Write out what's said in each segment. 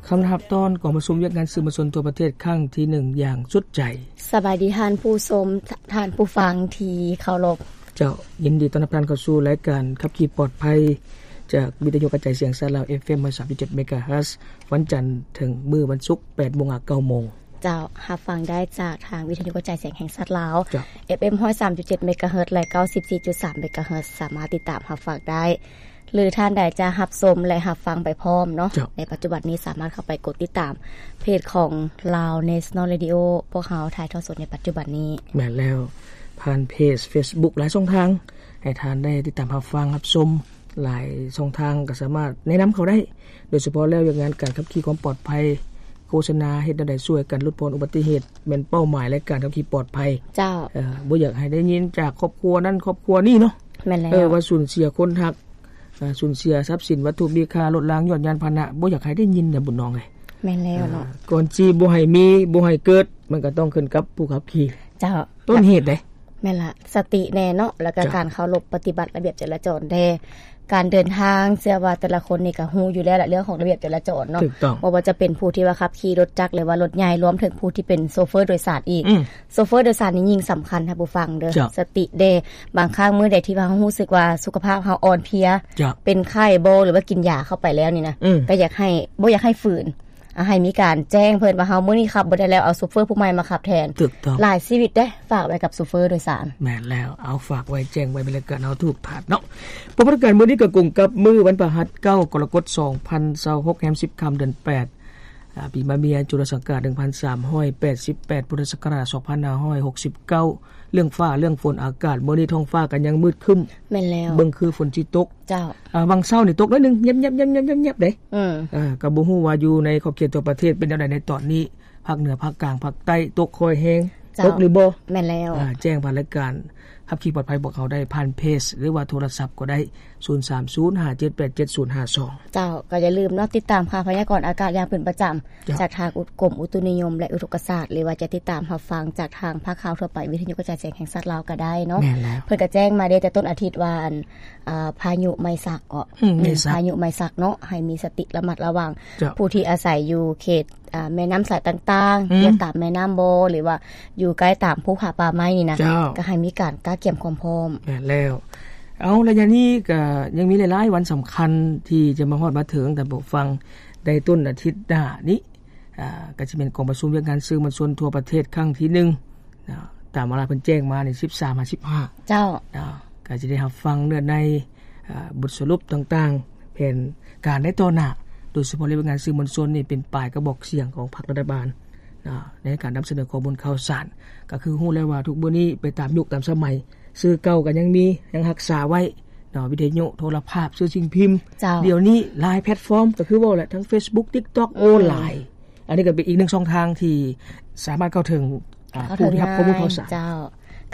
ຄຳນັບຕອນກອງປະຊຸມວຽກງານສື່ມວນຊົນທົ່ວປະເທດຄັ້ງທີໜຶ່ງຢ່າງສຸດໃຈ. ສະບາຍດີທ່ານຜູ້ຊົມ, ທ່ານຜູ້ຟັງທີ່ເຄົາລົບ. ເຈົ້າ, ຍິນດີຕ້ອນຮັບທ່ານເຂົ້າສູ່ລາຍການຂັບຂີ່ປອດໄພ ຈາກວິທະຍຸກະຈາຍສຽງສາດລາວ ເອັຟເອັມຮ້ອຍສາມຈຸດເຈັດເມກາເຮີດ ວັນຈັນເຖິງມື້ວັນສຸກ ແປດໂມງຫາເກົ້າໂມງ. ເຈົ້າ, ຮັບຟັງໄດ້ຈາກທາງວິທະຍຸກະຈາຍສຽງແຫ່ງຊາດລາວ ເຈົ້າ ເອັຟເອັມຮ້ອຍສາມຈຸດເຈັດເມກາເຮີດ ແລະ ເກົ້າສິບສີ່ຈຸດສາມເມກາເຮີດ ສາມາດຕິດຕາມຮັບຟັງໄດ້ ຫຼືທ່ານໃດຈະຮັບຊົມ ແລະ ຮັບຟັງໄປພ້ອມເນາະ ເຈົ້າ ໃນປັດຈຸບັນນີ້ສາມາດເຂົ້າໄປກົດຕິດຕາມເພຈຂອງ Lao National Radio ພວກເຮົາຖ່າຍທອດສົດໃນປັດຈຸບັນນີ້. ແມ່ນແລ້ວ, ຜ່ານເພຈ Facebook ຫຼາຍຊ່ອງທາງ ໃຫ້ທ່ານໄດ້ຕິດຕາມຮັບຟັງຮັບຊົມ ຫຼາຍຊ່ອງທາງກໍສາມາດແນະນຳເຂົ້າໄດ້ ໂດຍສະເພາະແລ້ວວຽກງານການຂັບຂີ່ຄວາມປອດໄພ ໂຄສະນາເຮັດແນວໃດຊ່ວຍກັນຫຼຸດຜ່ອນອຸບັດຕິເຫດ ແມ່ນເປົ້າໝາຍລາຍການຂັບຂີ່ປອດໄພ. ເຈົ້າ. ເອີ ບໍ່ຢາກໃຫ້ໄດ້ຍິນຈາກຄອບຄົວນັ້ນຄອບຄົວນີ້ເນາະ. ແມ່ນແລ້ວ. ເອີ ວ່າສູນເສຍຄົນຮັກ, ສູນເສຍຊັບສິນວັດຖຸມີຄ່າ, ລົດລາງ, ຍານພາຫະນະ, ບໍ່ຢາກໃຫ້ໄດ້ຍິນນະ ບຸນນ້ອງເອີຍ. ແມ່ນແລ້ວເນາະ. ເອີ ກ່ອນຊິບໍ່ໃຫ້ມີ, ບໍ່ໃຫ້ເກີດ, ມັນກໍຕ້ອງຂຶ້ນກັບຜູ້ຂັບຂີ່. ເຈົ້າ. ຕົ້ນເຫດເດ້. ແມ່ນລະ, ສະຕິແດ່ເນາະ ແລ້ວກໍ ເຈົ້າ ການເຄົາລົບປະຕິບັດລະບຽບຈະລາຈອນແດ່. ການເດີນທາງ ເຊື່ອວ່າແຕ່ລະຄົນນີ້ກໍຮູ້ຢູ່ແລ້ວລະ ເລື່ອງຂອງລະບຽບຈະລາຈອນເນາະ. ຖືກຕ້ອງ. ບໍ່ວ່າຈະເປັນຜູ້ທີ່ວ່າຂັບຂີ່ລົດຈັກ ຫຼືວ່າລົດໃຫຍ່ ລວມເຖິງຜູ້ທີ່ເປັນໂຊເຟີໂດຍສານອີກ. ອືມ. ໂຊເຟີໂດຍສານນີ້ຍິ່ງສຳຄັນ ທ່ານຜູ້ຟັງເດີ. ເຈົ້າ. ສະຕິແດ່. ບາງຄັ້ງມື້ໃດທີ່ວ່າເຮົາຮູ້ສຶກວ່າສຸຂະພາບເຮົາອ່ອນເພຍ, ເຈົ້າ ເປັນໄຂ້ບໍ ຫຼືວ່າກິນຢາເຂົ້າໄປແລ້ວນີ້ນະ, ອືມ ກໍຢາກໃຫ້ ບໍ່ຢາກໃຫ້ຝືນ. ອາ ໃຫ້ມີການແຈ້ງເພິ່ນວ່າເຮົາມື້ນີ້ຂັບບໍ່ໄດ້ແລ້ວ ເອົາໂຊເຟີຜູ້ໃໝ່ມາຂັບແທນ. ຖືກຕ້ອງ. ຫຼາຍຊີວິດເດ້ ຝາກໄວ້ກັບໂຊເຟີໂດຍສານ. ແມ່ນແລ້ວ, ເອົາ ຝາກໄວ້ ແຈ້ງໄວ້ ເວລາການເຮົາຖືກພາດເນາະ. ເພາະວ່າການມື້ນີ້ກໍກົງກັບມື້ວັນພະຫັດ ເກົ້າ ກໍລະກົດ ສອງພັນຊາວຫົກ ແຮມສິບຄ່ຳເດືອນແປດ ອາ ປີມະເມຍ ຈຸລະສັງກາດ ໜຶ່ງພັນສາມຮ້ອຍແປດສິບແປດ ພຸດທະສັກກະລາດ ສອງພັນຫ້າຮ້ອຍຫົກສິບເກົ້າ ເລື່ອງຟ້າເລື່ອງຝົນອາກາດ ມື້ນີ້ທ້ອງຟ້າກໍຍັງມືດຄຶ້ມ. ແມ່ນແລ້ວ. ເບິ່ງຄືຝົນຊິຕົກ. ເຈົ້າ. ອາ ຫວ່າງເຊົ້ານີ້ຕົກໜ້ອຍໜຶ່ງ ແຍບໆໆໆໆເດ້. ອືມ. ອາ ກໍບໍ່ຮູ້ວ່າຢູ່ໃນຂອບເຂດທົ່ວປະເທດເປັນແນວໃດໃນຕອນນີ້, ພາກເໜືອ ພາກກາງ ພາກໃຕ້ ຕົກຄ່ອຍແຮງ. ເຈົ້າ. ຕົກຫຼືບໍ່? ແມ່ນແລ້ວ. ອາ ແຈ້ງຜ່ານລາຍການຂັບຂີ່ປອດໄພພວກເຮົາໄດ້ ຜ່ານເພຈ ຫຼືວ່າໂທລະສັບກໍໄດ້ ສູນສາມສູນ ຫ້າເຈັດແປດເຈັດສູນຫ້າສອງ. ເຈົ້າ. ກໍຢ່າລືມເນາະ ຕິດຕາມຂ່າວພະຍາກອນອາກາດຢ່າງເປັນປະຈຳ ເຈົ້າ ຈາກທາງ ອ- ກົມອຸຕຸນິຍົມ ແລະ ອຸທົກກະສາດ ຫຼືວ່າຈະຕິດຕາມຮັບຟັງຈາກທາງພາກຂ່າວທົ່ວໄປ ວິທະຍຸກະຈາຍສຽງແຫ່ງຊາດລາວກໍໄດ້ເນາະ. ແມ່ນແລ້ວ. ເພິ່ນກໍແຈ້ງມາເດ້ແຕ່ຕົ້ນອາທິດວ່າ ອັນ ອາ ພາຍຸໄມສັກເກາະ. ອືມ ໄມສັກ. ພາຍຸໄມສັກເນາະ ໃຫ້ມີສະຕິລະມັດລະວັງ. ເຈົ້າ. ຜູ້ທີ່ອາໄສຢູ່ເຂດ ອາ ແມ່ນ້ຳສາຍຕ່າງໆ ອືມ ຢູ່ຕາມແມ່ນ້ຳບໍ່ ຫຼືວ່າຢູ່ໃກ້ຕາມພູຜາປ່າໄມ້ນີ້ນະ. ເຈົ້າ. ກໍໃຫ້ມີການກະກຽມຄວາມພ້ອມ. ແມ່ນແລ້ວ. ເອົາ ໄລຍະນີ້ກໍຍັງມີຫຼາຍໆວັນສຳຄັນທີ່ຈະມາຮອດມາເຖິງ ທ່ານຜູ້ຟັງ ໃນຕົ້ນອາທິດໜ້ານີ້ ອາ ກໍຈະແມ່ນກອງປະຊຸມວຽກງານສື່ມວນຊົນທົ່ວປະເທດຄັ້ງທີໜຶ່ງ ນະ ຕາມເວລາເພິ່ນແຈ້ງມານີ້ ສິບສາມຫາສິບຫ້າ. ເຈົ້າ. ນະ ກໍຈະໄດ້ຮັບຟັງເນື້ອໃນ ອາ ບົດສະຫຼຸບຕ່າງໆ ແຜນການໃນຕໍ່ໜ້າ ໂດຍສະເພາະເລື່ອງວຽກງານສື່ມວນຊົນນີ້ເປັນປາຍກະບອກສຽງຂອງພັກລັດຖະບານ ນະ ໃນການນຳສະເໜີຂໍ້ມູນຂ່າວສານ. ກໍຄືຮູ້ແລ້ວວ່າທຸກມື້ນີ້ໄປຕາມຍຸກຕາມສະໄໝ ສື່ເກົ່າກໍຍັງມີ ຍັງຮັກສາໄວ້ເນາະ ວິທະຍຸ ໂທລະພາບ ສື່ສິ່ງພິມ. ເຈົ້າ. ດຽວນີ້ຫຼາຍແພລດຟອມ ກໍຄືເວົ້າແຫຼະ ທັງເຟສບຸກ ຕິກຕັອກ ອືມ ໂອ້ ຫຼາຍ. ອັນນີ້ກໍເປັນອີກໜຶ່ງຊ່ອງທາງທີ່ສາມາດເຂົ້າເຖິງ ອາ ຜູ້ທີ່ຮັບຂໍ້ມູນຂ່າວສານ. ເຈົ້າ.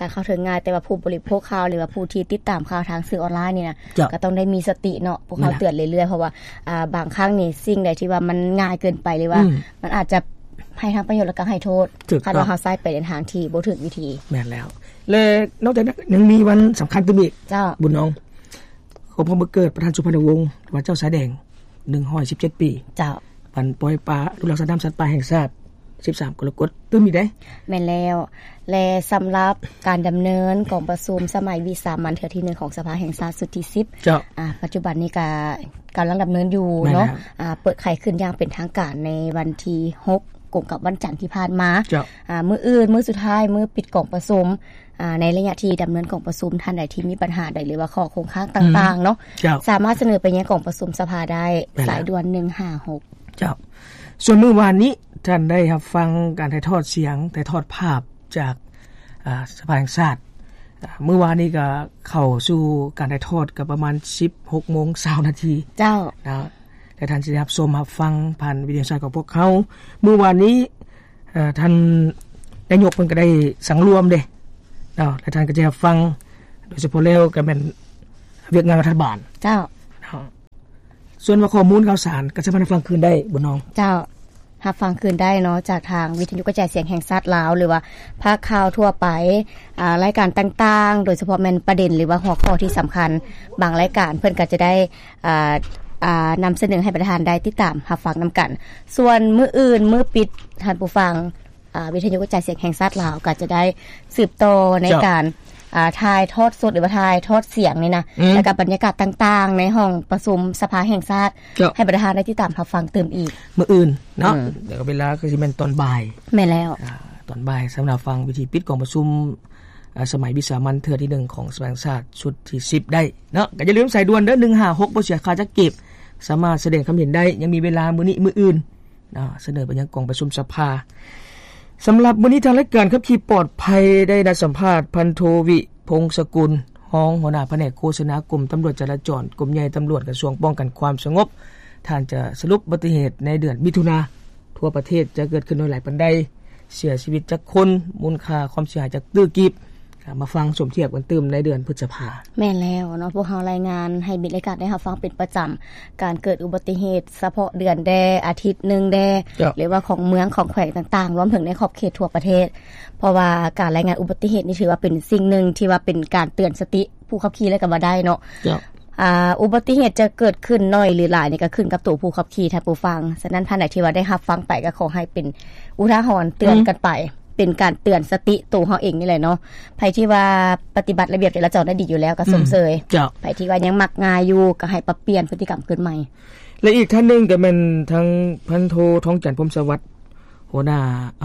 ການເຂົ້າເຖິງງ່າຍ ແຕ່ວ່າຜູ້ບໍລິໂພກຂ່າວ ຫຼືວ່າຜູ້ທີ່ຕິດຕາມຂ່າວທາງສື່ອອນລາຍນີ້ນະ ເຈົ້າ ກໍຕ້ອງໄດ້ມີສະຕິເນາະ ພວກເຮົາ ແມ່ນລະ ເຕືອນເລື້ອຍໆ ເພາະວ່າ ອາ ບາງຄັ້ງນີ້ສິ່ງໃດທີ່ວ່າມັນງ່າຍເກີນໄປ ຫຼືວ່າ ອືມ ມັນອາດຈະໃຫ້ທັງປະໂຫຍດ ແລະກໍໃຫ້ໂທດ ຖືກຕ້ອງ ຄັນວ່າເຮົາໃຊ້ໄປໃນທາງທີ່ບໍ່ຖືກວິທີ. ແມ່ນແລ້ວ. ແລະນອກຈາກນັ້ນຍັງມີວັນສຳຄັນຕື່ມອີກ. ເຈົ້າ. ບຸນນ້ອງ ຄອບຮອບວັນເກີດປະທານສຸພັນນະວົງ ວ່າເຈົ້າຊາຍແດງ ໜຶ່ງຮ້ອຍສິບເຈັດປີ. ເຈົ້າ. ວັນປ່ອຍປາ ອະນຸລັກສັດນ້ຳສັດປ່າແຫ່ງຊາດ ສິບສາມກໍລະກົດ ຕື່ມອີກເດ້. ແມ່ນແລ້ວ. ແລະສຳລັບການດຳເນີນກອງປະຊຸມສະໄໝວິສາມັນເທື່ອທີໜຶ່ງຂອງສະພາແຫ່ງຊາດຊຸດທີສິບ. ເຈົ້າ. ອາ ປັດຈຸບັນນີ້ກະກຳລັງດຳເນີນຢູ່ເນາະ. ແມ່ນແລ້ວ. ອາ ເປີດໄຂຂຶ້ນຢ່າງເປັນທາງການໃນວັນທີຫົກ ກົງກັບວັນຈັນທີ່ຜ່ານມາ. ເຈົ້າ. ອາ ມື້ອື່ນ ມື້ສຸດທ້າຍ ມື້ປິດກອງປະຊຸມ. ອາ ໃນໄລຍະທີ່ດຳເນີນກອງປະຊຸມ ທ່ານໃດທີ່ມີບັນຫາໃດ ຫຼືວ່າຂໍ້ຄົງຄ້າງຕ່າງໆເນາະ ເຈົ້າ ສາມາດສະເໜີໄປຍັງກອງປະຊຸມສະພາໄດ້. ແມ່ນແລ້ວ. ສາຍດ່ວນໜຶ່ງຫ້າຫົກ. ເຈົ້າ. ສ່ວນມື້ວານນີ້ ທ່ານໄດ້ຮັບຟັງການຖ່າຍທອດສຽງ ຖ່າຍທອດພາບຈາກ ອາ ສະພາແຫ່ງຊາດ. ອາ ມື້ວານນີ້ກໍເຂົ້າສູ່ການຖ່າຍທອດກໍປະມານສິບຫົກໂມງຊາວນາທີ. ເຈົ້າ. ນະ ແລະທ່ານຊິໄດ້ຮັບຊົມຮັບຟັງຜ່ານວິທະຍຸແຫ່ງຊາດຂອງພວກເຮົາ. ມື້ວານນີ້ ເອີ ທ່ານນາຍົກເພິ່ນກໍໄດ້ສັງລວມເດ້ເນາະ ແລະທ່ານກໍຈະຮັບຟັງ ໂດຍສະເພາະແລ້ວກໍແມ່ນວຽກງານລັດຖະບານ. ເຈົ້າ. ເນາະ. ສ່ວນວ່າຂໍ້ມູນຂ່າວສານກໍສາມາດຮັບຟັງຄືນໄດ້ ບຸນນ້ອງ. ເຈົ້າ. ຮັບຟັງຄືນໄດ້ເນາະ ຈາກທາງວິທະຍຸກະຈາຍສຽງແຫ່ງຊາດລາວ ຫຼືວ່າພາກຂ່າວທົ່ວໄປ ອາ ລາຍການຕ່າງໆ ໂດຍສະເພາະແມ່ນປະເດັນ ຫຼືວ່າຫົວຂໍ້ທີ່ສຳຄັນ ບາງລາຍການເພິ່ນກໍຈະໄດ້ ອາ ອ່າ ນຳສະເໜີໃຫ້ປະທານໄດ້ຕິດຕາມຮັບຟັງນຳກັນ. ສ່ວນມື້ອື່ນ ມື້ປິດ ທ່ານຜູ້ຟັງ ອ່າ ວິທະຍຸກະຈາຍສຽງແຫ່ງຊາດລາວ ກໍຈະໄດ້ສືບຕໍ່ໃນ ເຈົ້າ ການ ອ່າ ຖ່າຍທອດສົດ ຫຼືວ່າຖ່າຍທອດສຽງນີ້ນະ ອືມ ແລ້ວກໍບັນຍາກາດຕ່າງໆ ໃນຫ້ອງປະຊຸມສະພາແຫ່ງຊາດ ເຈົ້າ ໃຫ້ປະທານໄດ້ຕິດຕາມຮັບຟັງຕື່ມອີກ ມື້ອື່ນເນາະ. ອືມ ແລ້ວກໍເວລາກໍຊິແມ່ນຕອນບ່າຍ. ແມ່ນແລ້ວ ອ່າ ຕອນບ່າຍ ສຳລັບຟັງພິທີປິດກອງປະຊຸມ ອ່າ ສະໄໝວິສາມັນເທື່ອທີໜຶ່ງຂອງສະພາແຫ່ງຊາດຊຸດທີສິບໄດ້ເນາະ. ກໍຢ່າລືມສາຍດ່ວນເດີ ໜຶ່ງຫ້າຫົກ ບໍ່ເສຍຄ່າຈັກກີບ ສາມາດສະແດງຄຳເຫັນໄດ້. ຍັງມີເວລາມື້ນີ້ມື້ອື່ນ ເນາະ ສະເໜີໄປຍັງກອງປະຊຸມສະພາ. ສຳລັບມື້ນີ້ ທາງລາຍການຂັບຂີ່ປອດໄພໄດ້ນັດສຳພາດ ພັນໂທ ວິພົງສະກຸນ ຮອງຫົວໜ້າພະແນກໂຄສະນາ ກົມຕຳຫຼວດຈະລາຈອນ ກົມໃຫຍ່ຕຳຫຼວດ ກະຊວງປ້ອງກັນຄວາມສະຫງົບ. ທ່ານຈະສະຫຼຸບອຸບັດຕິເຫດໃນເດືອນມິຖຸນາ ທົ່ວປະເທດຈະເກີດຂຶ້ນໜ້ອຍຫຼາຍປານໃດ, ເສຍຊີວິດຈັກຄົນ, ມູນຄ່າຄວາມເສຍຫາຍຈັກຕື້ກີບ. ມາຟັງສົມທຽບກັນຕື່ມໃນເດືອນພຶດສະພາ. ແມ່ນແລ້ວເນາະ, ພວກເຮົາລາຍງານໃຫ້ມິດລາຍການໄດ້ຮັບຟັງເປັນປະຈຳ ການເກີດອຸບັດຕິເຫດສະເພາະເດືອນແດ່, ອາທິດໜຶ່ງແດ່ ເຈົ້າ ຫຼືວ່າຂອງເມືອງ, ຂອງແຂວງຕ່າງໆ ລວມເຖິງໃນຂອບເຂດທົ່ວປະເທດ. ເພາະວ່າການລາຍງານອຸບັດຕິເຫດນີ້ຖືວ່າເປັນສິ່ງໜຶ່ງທີ່ວ່າເປັນການເຕືອນສະຕິຜູ້ຂັບຂີ່ເລີຍກໍວ່າໄດ້ເນາະ. ເຈົ້າ. ອ່າ ອຸບັດຕິເຫດຈະເກີດຂຶ້ນໜ້ອຍຫຼືຫຼາຍນີ້ກໍຂຶ້ນກັບໂຕຜູ້ຂັບຂີ່ ທ່ານຜູ້ຟັງ. ສະນັ້ນ ທ່ານໃດທີ່ວ່າໄດ້ຮັບຟັງໄປ ກໍຂໍໃຫ້ເປັນອຸທາຫອນເຕືອນ ອືມ ກັນໄປ, ເປັນການເຕືອນສະຕິໂຕເຮົາເອງນີ້ແຫຼະເນາະ. ໃຜທີ່ວ່າປະຕິບັດລະບຽບຈະລາຈອນໄດ້ດີຢູ່ແລ້ວກໍ ອືມ ຊົມເຊີຍ. ເຈົ້າ. ໃຜທີ່ວ່າຍັງມັກງ່າຍຢູ່ ກໍໃຫ້ປັບປ່ຽນພຶດຕິກຳຄືນໃໝ່. ແລະ ອີກທ່ານໜຶ່ງກໍແມ່ນທາງພັນໂທ ທອງຈັນ ພົມສະຫວັດ ຫົວໜ້າ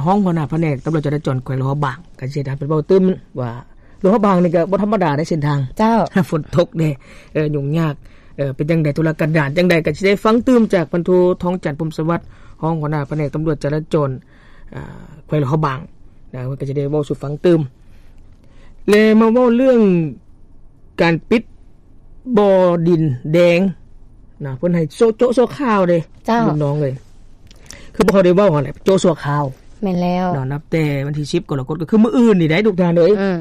ຮອງຫົວໜ້າພະແນກຕຳຫຼວດຈະລາຈອນແຂວງຫຼວງພະບາງ ກໍຊິໄດ້ເປັນເວົ້າຕື່ມວ່າ ຫຼວງພະບາງນີ້ກໍບໍ່ທຳມະດາໃນເສັ້ນທາງ. ເຈົ້າ. ຝົນຕົກແດ່ ເອີ ຫຍຸ້ງຍາກ ເອີ ເປັນຈັ່ງໃດ ທຸລະກັນດານຈັ່ງໃດ ກໍຊິໄດ້ຟັງຕື່ມຈາກພັນໂທ ທອງຈັນ ພົມສະຫວັດ ຮອງຫົວໜ້າພະແນກຕຳຫຼວດຈະລາຈອນ ອາ ແຂວງຫຼວງພະບາງນະ ເພິ່ນກໍຈະໄດ້ເວົ້າສູ່ຟັງຕື່ມ. ແລະ ມາເວົ້າເລື່ອງການປິດບໍ່ດິນແດງນະ ເພິ່ນໃຫ້ໂຈະ ໂຈະຊົ່ວຄາວເດ້. ເຈົ້າ. ລຸງນ້ອງເອີຍ ຄືພວກເຮົາໄດ້ເວົ້າຫັ້ນແຫຼະ ໂຈະຊົ່ວຄາວ. ແມ່ນແລ້ວເນາະ, ນັບແຕ່ວັນທີສິບກໍລະກົດ ກໍຄືມື້ອື່ນນີ້ໄດ໋ ທຸກທ່ານເອີຍ. ອືມ.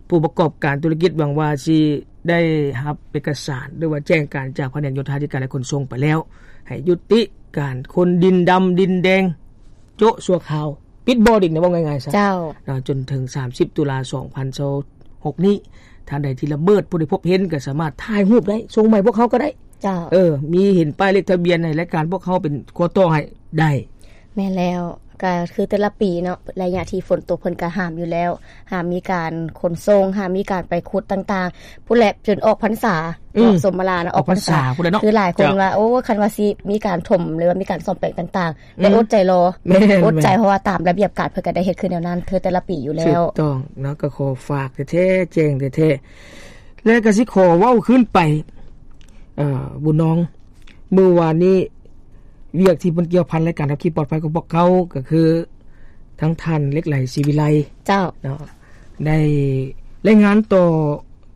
ຜູ້ປະກອບການທຸລະກິດຫວັງວ່າຊິໄດ້ຮັບເອກະສານ ຫຼືວ່າແຈ້ງການຈາກພະແນກໂຍທາທິການ ແລະ ຂົນສົ່ງໄປແລ້ວ ໃຫ້ຍຸຕິການຂົນດິນດຳດິນແດງ ໂຈະຊົ່ວຄາວ ປິດບໍ່ດິນນະ ເວົ້າງ່າຍໆຊະ. ເຈົ້າ. ເນາະ ຈົນເຖິງສາມສິບຕຸລາ ສອງພັນຊາວຫົກນີ້ ທ່ານໃດທີ່ລະເມີດ ຜູ້ໃດພົບເຫັນກໍສາມາດຖ່າຍຮູບໄດ້ ສົ່ງມາໃຫ້ພວກເຮົາກໍໄດ້. ເຈົ້າ. ເອີ ມີເຫັນປ້າຍເລກທະບຽນໃຫ້ລາຍການພວກເຮົາເປັນຂົວຕໍ່ໃຫ້ໄດ້. ແມ່ນແລ້ວ ກໍຄືແຕ່ລະປີເນາະ ໄລຍະທີ່ຝົນຕົກເພິ່ນກໍຫ້າມຢູ່ແລ້ວ ຫ້າມມີການຂົນສົ່ງ ຫ້າມມີການໄປຂຸດຕ່າງໆ ພຸ້ນແຫຼະ ຈົນອອກພັນສາ ອືມ ເນາະ ສົມມະລານະ ອອກພັນສາ ອອກພັນສາພຸ້ນແຫຼະເນາະ. ຄືຫຼາຍຄົນ ເຈົ້າ ວ່າ ໂອ້ ຄັນວ່າຊິມີການຖົມ ຫຼືວ່າມີການສ້ອມແປງຕ່າງໆ ແຕ່ ອືມ ອົດໃຈລໍ. ແມ່ນ ອົດໃຈ ແມ່ນ ເພາະວ່າຕາມລະບຽບການເພິ່ນກໍໄດ້ເຮັດຄືແນວນັ້ນ ຄືແຕ່ລະປີຢູ່ແລ້ວ. ຖືກຕ້ອງເນາະ, ກໍຂໍຝາກແທ້ໆ ແຈ້ງແທ້ໆ ແລະ ກໍຊິຂໍເວົ້າຄືນໄປ ເອີ ບຸນນ້ອງ ມື້ວານນີ້ ວຽກທີ່ເພິ່ນກ່ຽວພັນລາຍການຂັບຂີ່ປອດໄພຂອງພວກເຮົາ ກໍຄືທາງທ່ານ ເຫຼັກໄຫຼ ສີວິໄລ ເຈົ້າ ເນາະ ໄດ້ລາຍງານຕໍ່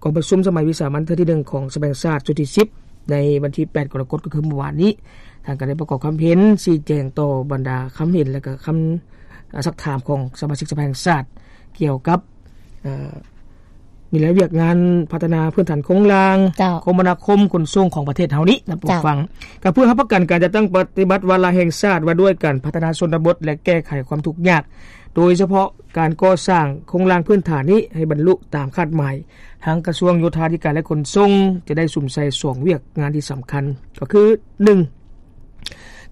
ກອງປະຊຸມສະໄໝວິສາມັນເທື່ອທີໜຶ່ງຂອງສະພາແຫ່ງຊາດຊຸດທີສິບ ໃນວັນທີແປດກໍລະກົດ ກໍຄືມື້ວານນີ້. ທ່ານກໍໄດ້ປະກອບຄຳເຫັນ ຊີ້ແຈງຕໍ່ບັນດາຄຳເຫັນ ແລະ ກໍຄຳ ອາ ຊັກຖາມຂອງສະມາຊິກສະພາແຫ່ງຊາດ ກ່ຽວກັບ ເອີ ນີ້ແຫຼະ ວຽກງານພັດທະນາພື້ນຖານໂຄງລ່າງ ເຈົ້າ ຄົມມະນາຄົມຂົນສົ່ງຂອງປະເທດເຮົານີ້ນະ ເຈົ້າ ຜູ້ຟັງ. ກໍເພື່ອຮັບປະກັນການຈັດຕັ້ງປະຕິບັດວາລະແຫ່ງຊາດວ່າດ້ວຍການພັດທະນາຊົນນະບົດ ແລະ ແກ້ໄຂຄວາມທຸກຍາກ ໂດຍສະເພາະການກໍ່ສ້າງໂຄງລ່າງພື້ນຖານນີ້ໃຫ້ບັນລຸຕາມຄາດໝາຍ, ທາງກະຊວງໂຍທາທິການ ແລະ ຂົນສົ່ງ ຈະໄດ້ສຸມໃສ່ສອງວຽກງານທີ່ສຳຄັນ ກໍຄື ໜຶ່ງ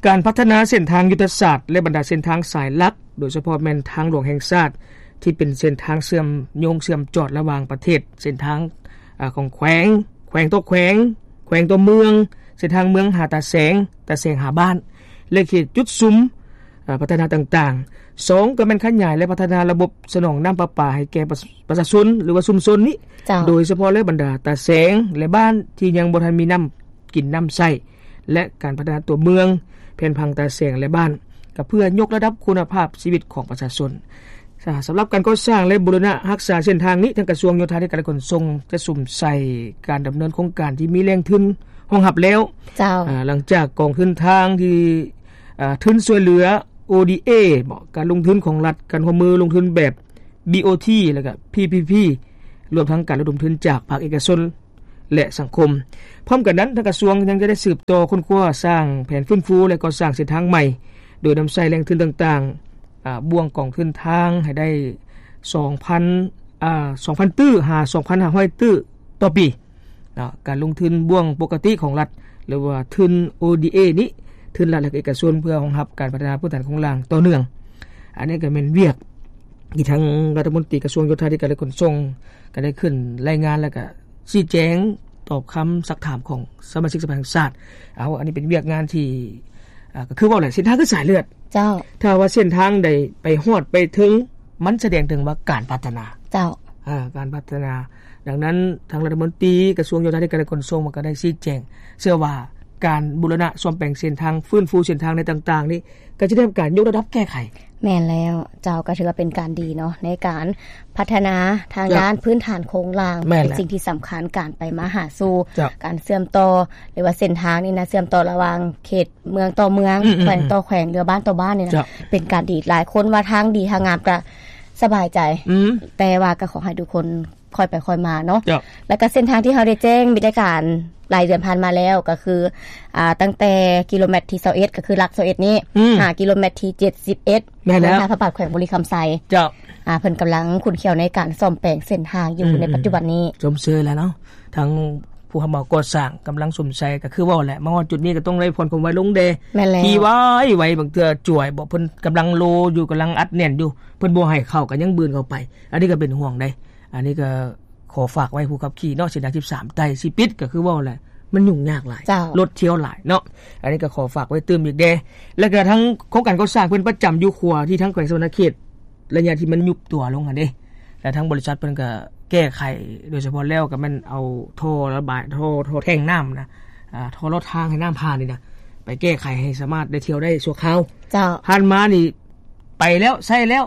ການພັດທະນາເສັ້ນທາງຍຸດທະສາດ ແລະ ບັນດາເສັ້ນທາງສາຍຫຼັກ ໂດຍສະເພາະແມ່ນທາງຫຼວງແຫ່ງຊາດ ທີ່ເປັນເສັ້ນທາງເຊື່ອມໂຍງເຊື່ອມຈອດລະຫວ່າງປະເທດ, ເສັ້ນທາງ ອາ ຂອງແຂວງ, ແຂວງຕໍ່ແຂວງ, ແຂວງຕໍ່ເມືອງ, ເສັ້ນທາງເມືອງຫາຕາແສງ, ຕາແສງຫາບ້ານ ແລະ ເຂດຈຸດສຸມ ອາ ພັດທະນາຕ່າງໆ. ສອງ ກໍແມ່ນຂະຫຍາຍ ແລະ ພັດທະນາລະບົບສະໜອງນ້ຳປະປາໃຫ້ແກ່ປະຊາ ປະຊາຊົນ ຫຼືວ່າຊຸມຊົນນີ້ ເຈົ້າ ໂດຍສະເພາະ ແລະ ບັນດາຕາແສງ ແລະ ບ້ານທີ່ຍັງບໍ່ທັນມີນ້ຳກິນນ້ຳໃຊ້ ແລະ ການພັດທະນາຕົວເມືອງ, ແຜນຜັງຕາແສງ ແລະ ບ້ານ ກໍເພື່ອຍົກລະດັບຄຸນນະພາບຊີວິດຂອງປະຊາຊົນ. ສະ ສຳລັບການກໍ່ສ້າງ ແລະ ບູລະນະຮັກສາເສັ້ນທາງນີ້ ທາງກະຊວງໂຍທາທິການ ແລະ ຂົນສົ່ງ ຈະສຸມໃສ່ການດຳເນີນໂຄງການທີ່ມີແຫຼ່ງທຶນຮອງຮັບແລ້ວ. ເຈົ້າ. ອາ ຫຼັງຈາກກອງທຶນທາງທີ່ ອາ ທຶນຊ່ວຍເຫຼືອ ໂອດີເອ ເບາະ ການລົງທຶນຂອງລັດ, ການຮ່ວມມືລົງທຶນແບບ ບີໂອທີ ແລ້ວກະ ພີພີພີ ລວມທັງການລະດົມທຶນຈາກພາກເອກະຊົນ ແລະ ສັງຄົມ. ພ້ອມກັນນັ້ນ, ທາງກະຊວງຍັງຈະໄດ້ສືບຕໍ່ຄົ້ນຄວ້າສ້າງແຜນຟື້ນຟູ ແລະ ກໍ່ສ້າງເສັ້ນທາງໃໝ່ ໂດຍນຳໃຊ້ແຫຼ່ງທຶນຕ່າງໆ ອາ ບ່ວງກອງທຶນທາງໃຫ້ໄດ້ ສອງພັນ ອາ ສອງພັນຕື້ ຫາ ສອງພັນຫ້າຮ້ອຍຕື້ຕໍ່ປີ. ເນາະ ການລົງທຶນບ່ວງປົກກະຕິຂອງລັດ ຫຼືວ່າທຶນ ໂອດີເອ ນີ້ ທຶນລັດ ແລະ ເອກະຊົນ ເພື່ອຮອງຮັບການພັດທະນາພື້ນຖານໂຄງລ່າງຕໍ່ເນື່ອງ. ອັນນີ້ກໍແມ່ນວຽກທີ່ທາງລັດຖະມົນຕີກະຊວງໂຍທາທິການ ແລະ ຂົນສົ່ງ ກໍໄດ້ຂຶ້ນລາຍງານ ແລ້ວກໍຊີ້ແຈງຕອບຄຳຊັກຖາມຂອງສະມາຊິກສະພາແຫ່ງຊາດ. ເອົາ ອັນນີ້ເປັນວຽກງານທີ່ ອ່າ ກໍຄືເວົ້າແຫຼະ ເສັ້ນທາງຄືສາຍເລືອດ. ເຈົ້າ. ຖ້າວ່າເສັ້ນທາງໃດໄປຮອດໄປເຖິງ ມັນສະແດງເຖິງວ່າການພັດທະນາ. ເຈົ້າ. ເອີ ການພັດທະນາ. ດັ່ງນັ້ນ ທາງລັດຖະມົນຕີກະຊວງໂຍທາທິການ ແລະ ຂົນສົ່ງ ມັນກໍໄດ້ຊີ້ແຈງ ເຊື່ອວ່າການບູລະນະສ້ອມແປງເສັ້ນທາງ, ຟື້ນຟູເສັ້ນທາງໃນຕ່າງໆນີ້ ກໍຈະໄດ້ຮັບການຍົກລະດັບແກ້ໄຂ. ແມ່ນແລ້ວເຈົ້າ, ກໍຖືວ່າເປັນການດີເນາະ ໃນການພັດທະນາທາງ ເຈົ້າ ດ້ານພື້ນຖານໂຄງລ່າງ. ແມ່ນແຫຼະ. ເປັນສິ່ງທີ່ສຳຄັນ ການໄປມາຫາສູ່ ເຈົ້າ ການເຊື່ອມຕໍ່ ຫຼືວ່າເສັ້ນທາງນີ້ນະ ເຊື່ອມຕໍ່ລະຫວ່າງເຂດເມືອງຕໍ່ເມືອງ, ອືມໆໆ ແຂວງຕໍ່ແຂວງ ຫຼືວ່າບ້ານຕໍ່ບ້ານນີ້ນະ. ເຈົ້າ. ເປັນການດີ. ຫຼາຍຄົນວ່າທາງດີທາງງາມກໍສະບາຍໃຈ. ອືມ. ແຕ່ວ່າກໍຂໍໃຫ້ທຸກຄົນ ຄ່ອຍໄປຄ່ອຍມາເນາະ. ເຈົ້າ. ແລ້ວກໍເສັ້ນທາງທີ່ເຮົາໄດ້ແຈ້ງ ມີແຕ່ການຫຼາຍເດືອນຜ່ານມາແລ້ວ ກໍຄື ອ່າ ຕັ້ງແຕ່ກິໂລແມັດທີຊາວເອັດ ກໍຄືຫຼັກຊາວເອັດນີ້ ອືມ ຫາກິໂລແມັດທີເຈັດສິບເອັດ ແມ່ນແລ້ວ ທາງພະບາດແຂວງບໍລິຄຳໄຊ. ເຈົ້າ. ອ່າ ເພິ່ນກຳລັງຂຸ້ນຂ້ຽວໃນການສ້ອມແປງເສັ້ນທາງຢູ່ ອືມ ໃນປັດຈຸບັນນີ້. ຊົມເຊີຍແລ້ວເນາະ ທັງຜູ້ຮັບເໝົາກໍ່ສ້າງກຳລັງຊົມໃຊ້ ກໍຄືເວົ້າແຫຼະ ມາຮອດຈຸດນີ້ກໍຕ້ອງໄດ້ຜ່ອນຄວາມໄວລົງແດ່. ແມ່ນແລ້ວ. ຂີ່ໄວໆ ບາງເທື່ອຈວຍບໍ່ ເພິ່ນກຳລັງໂລຢູ່ ກຳລັງອັດແໜ້ນຢູ່ ເພິ່ນບໍ່ໃຫ້ເຂົ້າ ກໍຍັງບືນເຂົ້າໄປ. ອັນນີ້ກໍເປັນຫ່ວງເດ້. ອັນນີ້ກໍຂໍຝາກໄວ້ຜູ້ຂັບຂີ່ເນາະ ເສັ້ນທາງສິບສາມໃຕ້ຊິປິດ ກໍຄືເວົ້າແຫຼະ ມັນຫຍຸ້ງຍາກຫຼາຍ. ເຈົ້າ. ລົດທຽວຫຼາຍເນາະ. ອັນນີ້ກໍຂໍຝາກໄວ້ຕື່ມອີກແດ່. ແລ້ວກໍທາງໂຄງການກໍ່ສ້າງເພິ່ນປະຈຳຢູ່ຂົວທີ່ທາງແຂວງສະຫວັນນະເຂດ ໄລຍະທີ່ມັນຍຸບຕົວລົງຫັ້ນເດ້ ແລ້ວທາງບໍລິສັດເພິ່ນກໍແກ້ໄຂ ໂດຍສະເພາະແລ້ວກໍແມ່ນເອົາທໍ່ລະບາຍ ທໍ່ ທໍ່ແທງນ້ຳນະ ອ່າ ທໍ່ລອດທາງໃຫ້ນ້ຳຜ່ານນີ້ນະ ໄປແກ້ໄຂໃຫ້ສາມາດໄດ້ທຽວໄດ້ຊົ່ວຄາວ. ເຈົ້າ. ຜ່ານມານີ້ໄປແລ້ວ ໃຊ້ແລ້ວ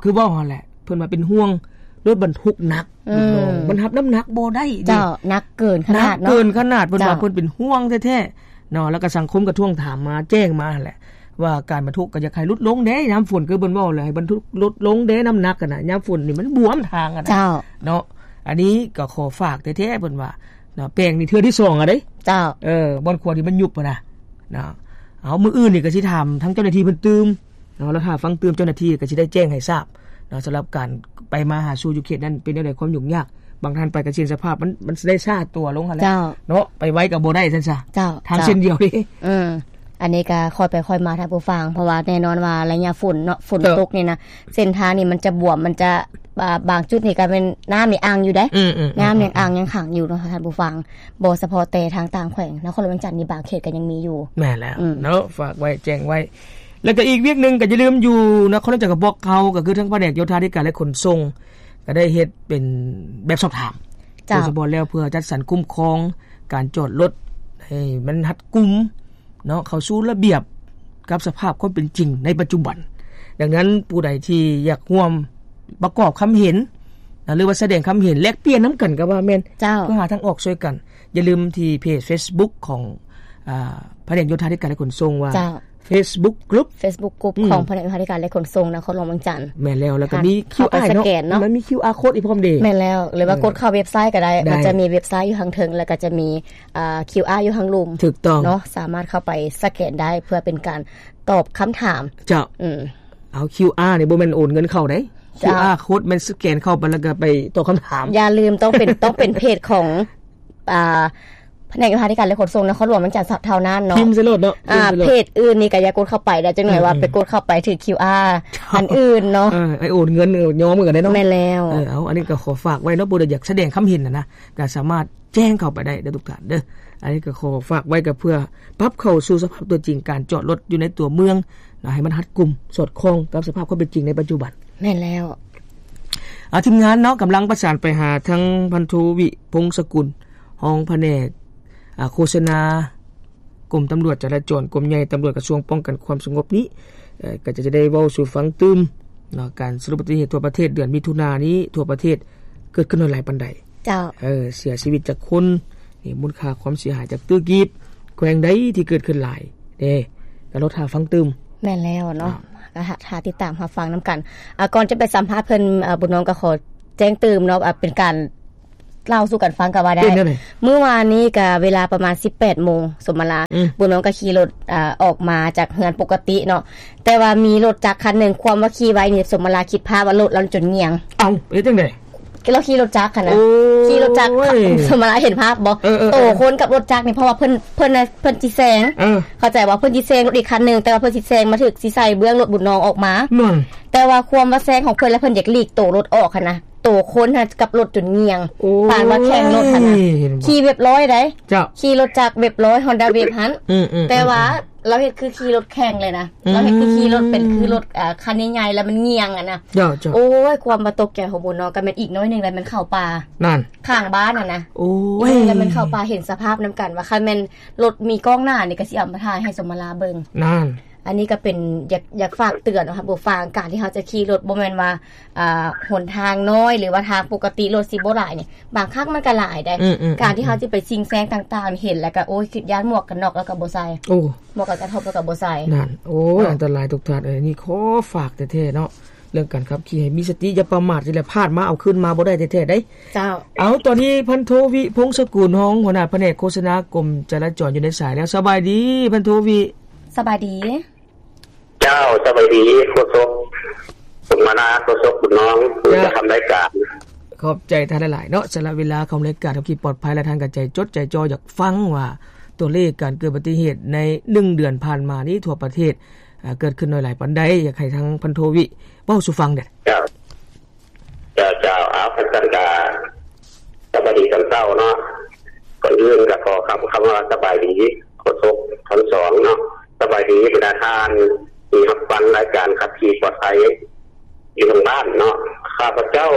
ຄືເວົ້າຫັ້ນແຫຼະ ເພິ່ນວ່າເປັນຫ່ວງລົດບັນທຸກໜັກ ອືມ ລູກນ້ອງ ມັນຮັບນ້ຳໜັກບໍ່ໄດ້ເດ້. ເຈົ້າ. ໜັກເກີນຂະໜາດເນາະ. ໜັກເກີນຂະໜາດ ເພິ່ນວ່າ ເຈົ້າ ເພິ່ນເປັນຫ່ວງແທ້ໆເນາະ. ແລ້ວກໍສັງຄົມກໍທວງຖາມມາ ແຈ້ງມາຫັ້ນແຫຼະ ວ່າການບັນທຸກກໍຢາກໃຫ້ຫຼຸດລົງແດ່ ຍາມຝົນ ຄືເພິ່ນເວົ້າແຫຼະ ໃຫ້ບັນທຸກລົດລົງແດ່ ນ້ຳໜັກຫັ້ນນະ ຍາມຝົນນີ້ມັນບວມທາງຫັ້ນນະ. ເຈົ້າ. ເນາະ ອັນນີ້ກໍຂໍຝາກແທ້ໆ ເພິ່ນວ່າເນາະ ແປງນີ້ເທື່ອທີສອງແລ້ວເດ້. ເຈົ້າ. ເອີ ບ່ອນຂົວທີ່ມັນຍຸບຫັ້ນນະ ເນາະ. ເອົາ ມື້ອື່ນນີ້ກໍຊິຖາມທາງເຈົ້າໜ້າທີ່ເພິ່ນຕື່ມເນາະ ແລ້ວຖ້າຟັງຕື່ມເຈົ້າໜ້າທີ່ກໍຊິໄດ້ແຈ້ງໃຫ້ຊາບເນາະ ສຳລັບການໄປມາຫາສູ່ຢູ່ເຂດນັ້ນເປັນແນວໃດ ຄວາມຫຍຸ້ງຍາກ. ບາງທ່ານໄປກໍຊິເຫັນສະພາບມັນ ມັນຊິໄດ້ຊ້າຕົວລົງຫັ້ນແຫຼະ. ເຈົ້າ. ເນາະ ໄປໄວກໍບໍ່ໄດ້ຊັ້ນຊະ. ເຈົ້າ. ທາງເສັ້ນດຽວນີ້. ເອີ ອັນນີ້ກໍຄ່ອຍໄປຄ່ອຍມາທ່ານຜູ້ຟັງ ເພາະວ່າແນ່ນອນວ່າໄລຍະຝົນເນາະ ຝົນ ເຈົ້າ ຕົກນີ້ນະ ເສັ້ນທາງນີ້ມັນຈະບວມ ມັນຈະ ບາ ບາງຈຸດນີ້ກໍແມ່ນນ້ຳຍັງອັ່ງຢູ່ເດ້. ອືມໆໆ ນ້ຳຍັງອັ່ງຍັງຂັງຢູ່ເນາະທ່ານຜູ້ຟັງ ບໍ່ສະເພາະແຕ່ທາງຕ່າງແຂວງ ນະຄອນຫຼວງວຽງຈັນນີ້ບາງເຂດກໍຍັງມີຢູ່. ແມ່ນແລ້ວ ອືມ ເນາະ ຝາກໄວ້ແຈ້ງໄວ້. ແລ້ວກໍອີກວຽກໜຶ່ງກໍຢ່າລືມ ຢູ່ນະຄອນຫຼວງວຽງຈັນຂອງພວກເຮົາ ກໍຄືທາງພະແນກໂຍທາທິການ ແລະ ຂົນສົ່ງ ກໍໄດ້ເຮັດເປັນແບບສອບຖາມ ເຈົ້າ ໂດຍສະເພາະແລ້ວເພື່ອຈັດສັນຄຸ້ມຄອງການຈອດລົດໃຫ້ມັນຮັດກຸມ ເນາະ ເຂົ້າສູ່ລະບຽບກັບສະພາບຄວາມເປັນຈິງໃນປັດຈຸບັນ. ດັ່ງນັ້ນ ຜູ້ໃດທີ່ຢາກຮ່ວມປະກອບຄຳເຫັນນະ ຫຼືວ່າສະແດງຄຳເຫັນ ແລກປ່ຽນນຳກັນກໍວ່າແມ່ນ. ເຈົ້າ. ເພື່ອຫາທາງອອກຊ່ວຍກັນ. ຢ່າລືມທີ່ເພຈເຟສບຸກຂອງ ອ່າ ພະແນກໂຍທາທິການ ແລະ ຂົນສົ່ງວ່າ ເຈົ້າ ເຟສບຸກກຣຸບ ເຟສບຸກກຣຸບ ອືມ ຂອງພະແນກໂຍທາທິການ ແລະ ຂົນສົ່ງນະຄອນຫຼວງວຽງຈັນ. ແມ່ນແລ້ວ. ແລ້ວກໍມີ ເຂົ້າໄປ ຄິວອາ ສະແກນເນາະ ເນາະ ມັນມີ ຄິວອາ ໂຄດອີກພ້ອມເດ້. ແມ່ນແລ້ວ. ຫຼືວ່າ ເອີ ກົດເຂົ້າເວັບໄຊກໍໄດ້ ໄດ້ ມັນຈະມີເວັບໄຊຢູ່ທາງເທິງ ແລ້ວກໍຈະມີ ອ່າ ຄິວອາ ຢູ່ທາງລຸ່ມ. ຖືກຕ້ອງ. ເນາະ ສາມາດເຂົ້າໄປສະແກນໄດ້ເພື່ອເປັນການຕອບຄຳຖາມ. ເຈົ້າ. ອືມ. ເອົາ ຄິວອາ ນີ້ບໍ່ແມ່ນໂອນເງິນເຂົ້າເດ້. ເຈົ້າ. ຄິວອາ ໂຄດແມ່ນສະແກນເຂົ້າໄປແລ້ວກໍໄປຕອບຄຳຖາມ. ຢ່າລືມ ຕ້ອງເປັນ ຕ້ອງເປັນເພຈຂອງ ອ່າ ພະແນກໂຍທາທິການ ແລະ ຂົນສົ່ງນະຄອນຫຼວງວຽງຈັນເທົ່ານັ້ນເນາະ. ພິມໃສ່ໂລດເນາະ. ອ່າ ພິມໃສ່ໂລດ. ເພຈອື່ນນີ້ກໍຢ່າກົດເຂົ້າໄປເດ້ ຈັກໜ້ອຍວ່າ ອືມໆ ໄປກົດເຂົ້າໄປຖືກຄິວອາ ເຈົ້າ ອັນອື່ນເນາະ. ເອີ ໄອ້ໂອນເງິນ ເອີ ຍອມກັນໄດ້ເນາະ. ແມ່ນແລ້ວ. ເອີ ເອົາ ອັນນີ້ກໍຂໍຝາກໄວ້ເນາະ ຜູ້ໃດຢາກສະແດງຄຳເຫັນຫັ້ນນະ ກໍສາມາດ ແຈ້ງເຂົ້າໄປໄດ້ເດີທຸກທ່ານເດີ. ອັນນີ້ກໍຂໍຝາກໄວ້ກໍເພື່ອປັບເຂົ້າສູ່ສະພາບຕົວຈິງການຈອດລົດຢູ່ໃນຕົວເມືອງນະ ໃຫ້ມັນຮັດກຸມສອດຄ່ອງກັບສະພາບຄວາມເປັນຈິງໃນປັດຈຸບັນ. ແມ່ນແລ້ວ. ອາ ທີມງານເນາະ ກຳລັງປະສານໄປຫາທາງພັນໂທ ວິພົງສະກຸນ ຮອງພະແນກ ອາ ໂຄສະນາ ກົມຕຳຫຼວດຈະລາຈອນ ກົມໃຫຍ່ຕຳຫຼວດກະຊວງປ້ອງກັນຄວາມສະຫງົບນີ້ ເອີ ກໍຈະໄດ້ເວົ້າສູ່ຟັງຕື່ມເນາະ ການສະຫຼຸບອຸບັດຕິເຫດທົ່ວປະເທດເດືອນມິຖຸນານີ້ ທົ່ວປະເທດເກີດຂຶ້ນຫຼາຍປານໃດ. ເຈົ້າ. ເອີ ເສຍຊີວິດຈັກຄົນ ນີ້ ມູນຄ່າຄວາມເສຍຫາຍຈັກຕື້ກີບ ແຂວງໃດທີ່ເກີດຂຶ້ນຫຼາຍເດ້ ກໍລໍຖ້າຟັງຕື່ມ. ແມ່ນແລ້ວເນາະ. ອ່າ ກໍຖ້າ ຖ້າຕິດຕາມຮັບຟັງນຳກັນ. ອ່າ ກ່ອນຈະໄປສຳພາດເພິ່ນ ອ່າ ບຸນນ້ອງກໍຂໍແຈ້ງຕື່ມເນາະ ອ່າ ເປັນການ ເລົ່າສູ່ກັນຟັງກໍວ່າໄດ້. ເປັນຈັ່ງໃດ? ມື້ວານນີ້ກໍເວລາປະມານສິບແປດໂມງສົມມະລາ ອືມ ບຸນນ້ອງກໍຂີ່ລົດ ອ່າ ອອກມາຈາກເຮືອນປົກກະຕິເນາະ ແຕ່ວ່າມີລົດຈັກຄັນໜຶ່ງ ຄວາມວ່າຂີ່ໄວນີ້ ສົມມະລາຄິດພາບວ່າລົດລະຈົນງ່ຽງ. ເອົ້າ ເຮັດຈັ່ງໃດ? ລາວຂີ່ລົດຈັກຫັ້ນນະ ໂອ້ຍ ຂີ່ລົດຈັກ ສົມມຸດວ່າເຫັນພາບບໍ່? ເອີໆໆ ໂຕຄົນກັບລົດຈັກນີ້ ເພາະວ່າເພິ່ນ ເພິ່ນນະ ເພິ່ນຊິແຊງ ເອີ ເຂົ້າໃຈບໍ່? ເພິ່ນຊິແຊງລົດອີກຄັນໜຶ່ງ ແຕ່ວ່າເພິ່ນຊິແຊງມາຖືກ ຊິໃສ່ເບື້ອງລົດບຸນນອງອອກມາ ນັ້ນ ແຕ່ວ່າຄວາມວ່າແຊງຂອງເພິ່ນ ແລ້ວເພິ່ນຢາກຫຼີກໂຕລົດອອກຫັ້ນນະ ໂຕຄົນຫັ້ນກັບລົດຈົນຍ່ຽງ ໂອ້ຍ ປານວ່າແຂ່ງລົດຫັ້ນນະ ເຫັນບໍ່? ຂີ່ແບບລອຍໃດ ເຈົ້າ ຂີ່ລົດຈັກແບບລອຍ Honda Wave ຫັ້ນ ອືມໆໆ ແຕ່ວ່າ ລາວເຮັດຄືຂີ່ລົດແຂ່ງເລີຍນະ ອືມ ລາວເຮັດຄືຂີ່ລົດເປັນຄືລົດ ເອີ ຄັນໃຫຍ່ໆ ແລ້ວມັນຍ່ຽງຫັ້ນນະ ເຈົ້າໆ ໂອ້ຍ ຄວາມວ່າຕົກໃຈຂອງໝູນ້ອຍກໍແມ່ນອີກໜ້ອຍໜຶ່ງແລ້ວແມ່ນເຂົ້າປ່າ ນັ້ນ ຂ້າງບ້ານຫັ້ນນະ ໂອ້ຍ ອີກໜ້ອຍໜຶ່ງແລ້ວແມ່ນເຂົ້າປ່າ ເຫັນສະພາບນຳກັນວ່າ ຄັນແມ່ນລົດມີກ້ອງໜ້ານີ້ກໍຊິເອົາມາຖ່າຍໃຫ້ສົມມະລາເບິ່ງ ນັ້ນ ອັນນີ້ກໍເປັນ ຢາກ ຢາກຝາກເຕືອນເນາະ ຜູ້ຟັງ ການທີ່ເຮົາຈະຂີ່ລົດ ບໍ່ແມ່ນວ່າ ອ່າ ຫົນທາງນ້ອຍ ຫຼືວ່າທາງປົກກະຕິລົດຊິບໍ່ຫຼາຍນີ້ ບາງຄັ້ງມັນກໍຫຼາຍໃດ໋ ອືມໆໆ ການທີ່ເຮົາຊິໄປຊິງແຊງຕ່າງໆ ເຫັນແລ້ວກໍ ໂອ້ຍ ຄິດຢ້ານໝວກກັນນັອກແລ້ວກໍບໍ່ໃສ່ ໂອ້ ໝວກກັນນັອກແລ້ວກໍບໍ່ໃສ່ ນັ້ນ ໂອ້ຍ ເນາະ ອັນຕະລາຍທຸກທ່ານເອີຍ ນີ້ຂໍຝາກແທ້ໆເນາະ ເລື່ອງການຂັບຂີ່ໃຫ້ມີສະຕິ ຢ່າປະໝາດ ຊິແຫຼະ ພາດມາເອົາຄືນມາບໍ່ໄດ້ແທ້ໆໃດ໋ ເຈົ້າ ເອົາ ຕອນນີ້ພັນໂທ ວິ ພົງສະກຸນ ຮອງຫົວໜ້າພະແນກໂຄສະນາ ກົມຈະລາຈອນ ຢູ່ໃນສາຍແລ້ວ ສະບາຍດີ ພັນໂທ ວິ ສະບາຍດີ. ເຈົ້າ ສະບາຍດີ ໂຄສົກສົມມະລາ ໂຄສົກບຸນນອງ ຜູ້ຈັດທຳລາຍການ ຂອບໃຈທ່ານຫຼາຍໆເນາະ ສຳລັບເວລາຂອງລາຍການຂັບຂີ່ປອດໄພ ແລະ ທ່ານກໍໃຈຈົດໃຈຈໍ່ ຢາກຟັງວ່າຕົວເລກການເກີດອຸບັດຕິເຫດໃນໜຶ່ງເດືອນຜ່ານມານີ້ ທົ່ວປະເທດ ເກີດຂຶ້ນໜ້ອຍຫຼາຍປານໃດ ຢາກໃຫ້ທາງພັນໂທ ວິ ເວົ້າສູ່ຟັງແດ່. ເຈົ້າ ເຈົ້າ ເຈົ້າ ເອົາ ຄັນຊັ້ນກະ ສະບາຍດີຕອນເຊົ້າເນາະ ກ່ອນອື່ນກະຂໍຄຳ ຄຳວ່າສະບາຍດີ ໂຄສົກທັງສອງເນາະ ສະບາຍດີບັນດາທ່ານທີ່ຮັບຟັງລາຍການຂັບຂີ່ປອດໄພຢູ່ທາງບ້ານເນາະ ຂ້າພະເຈົ້າ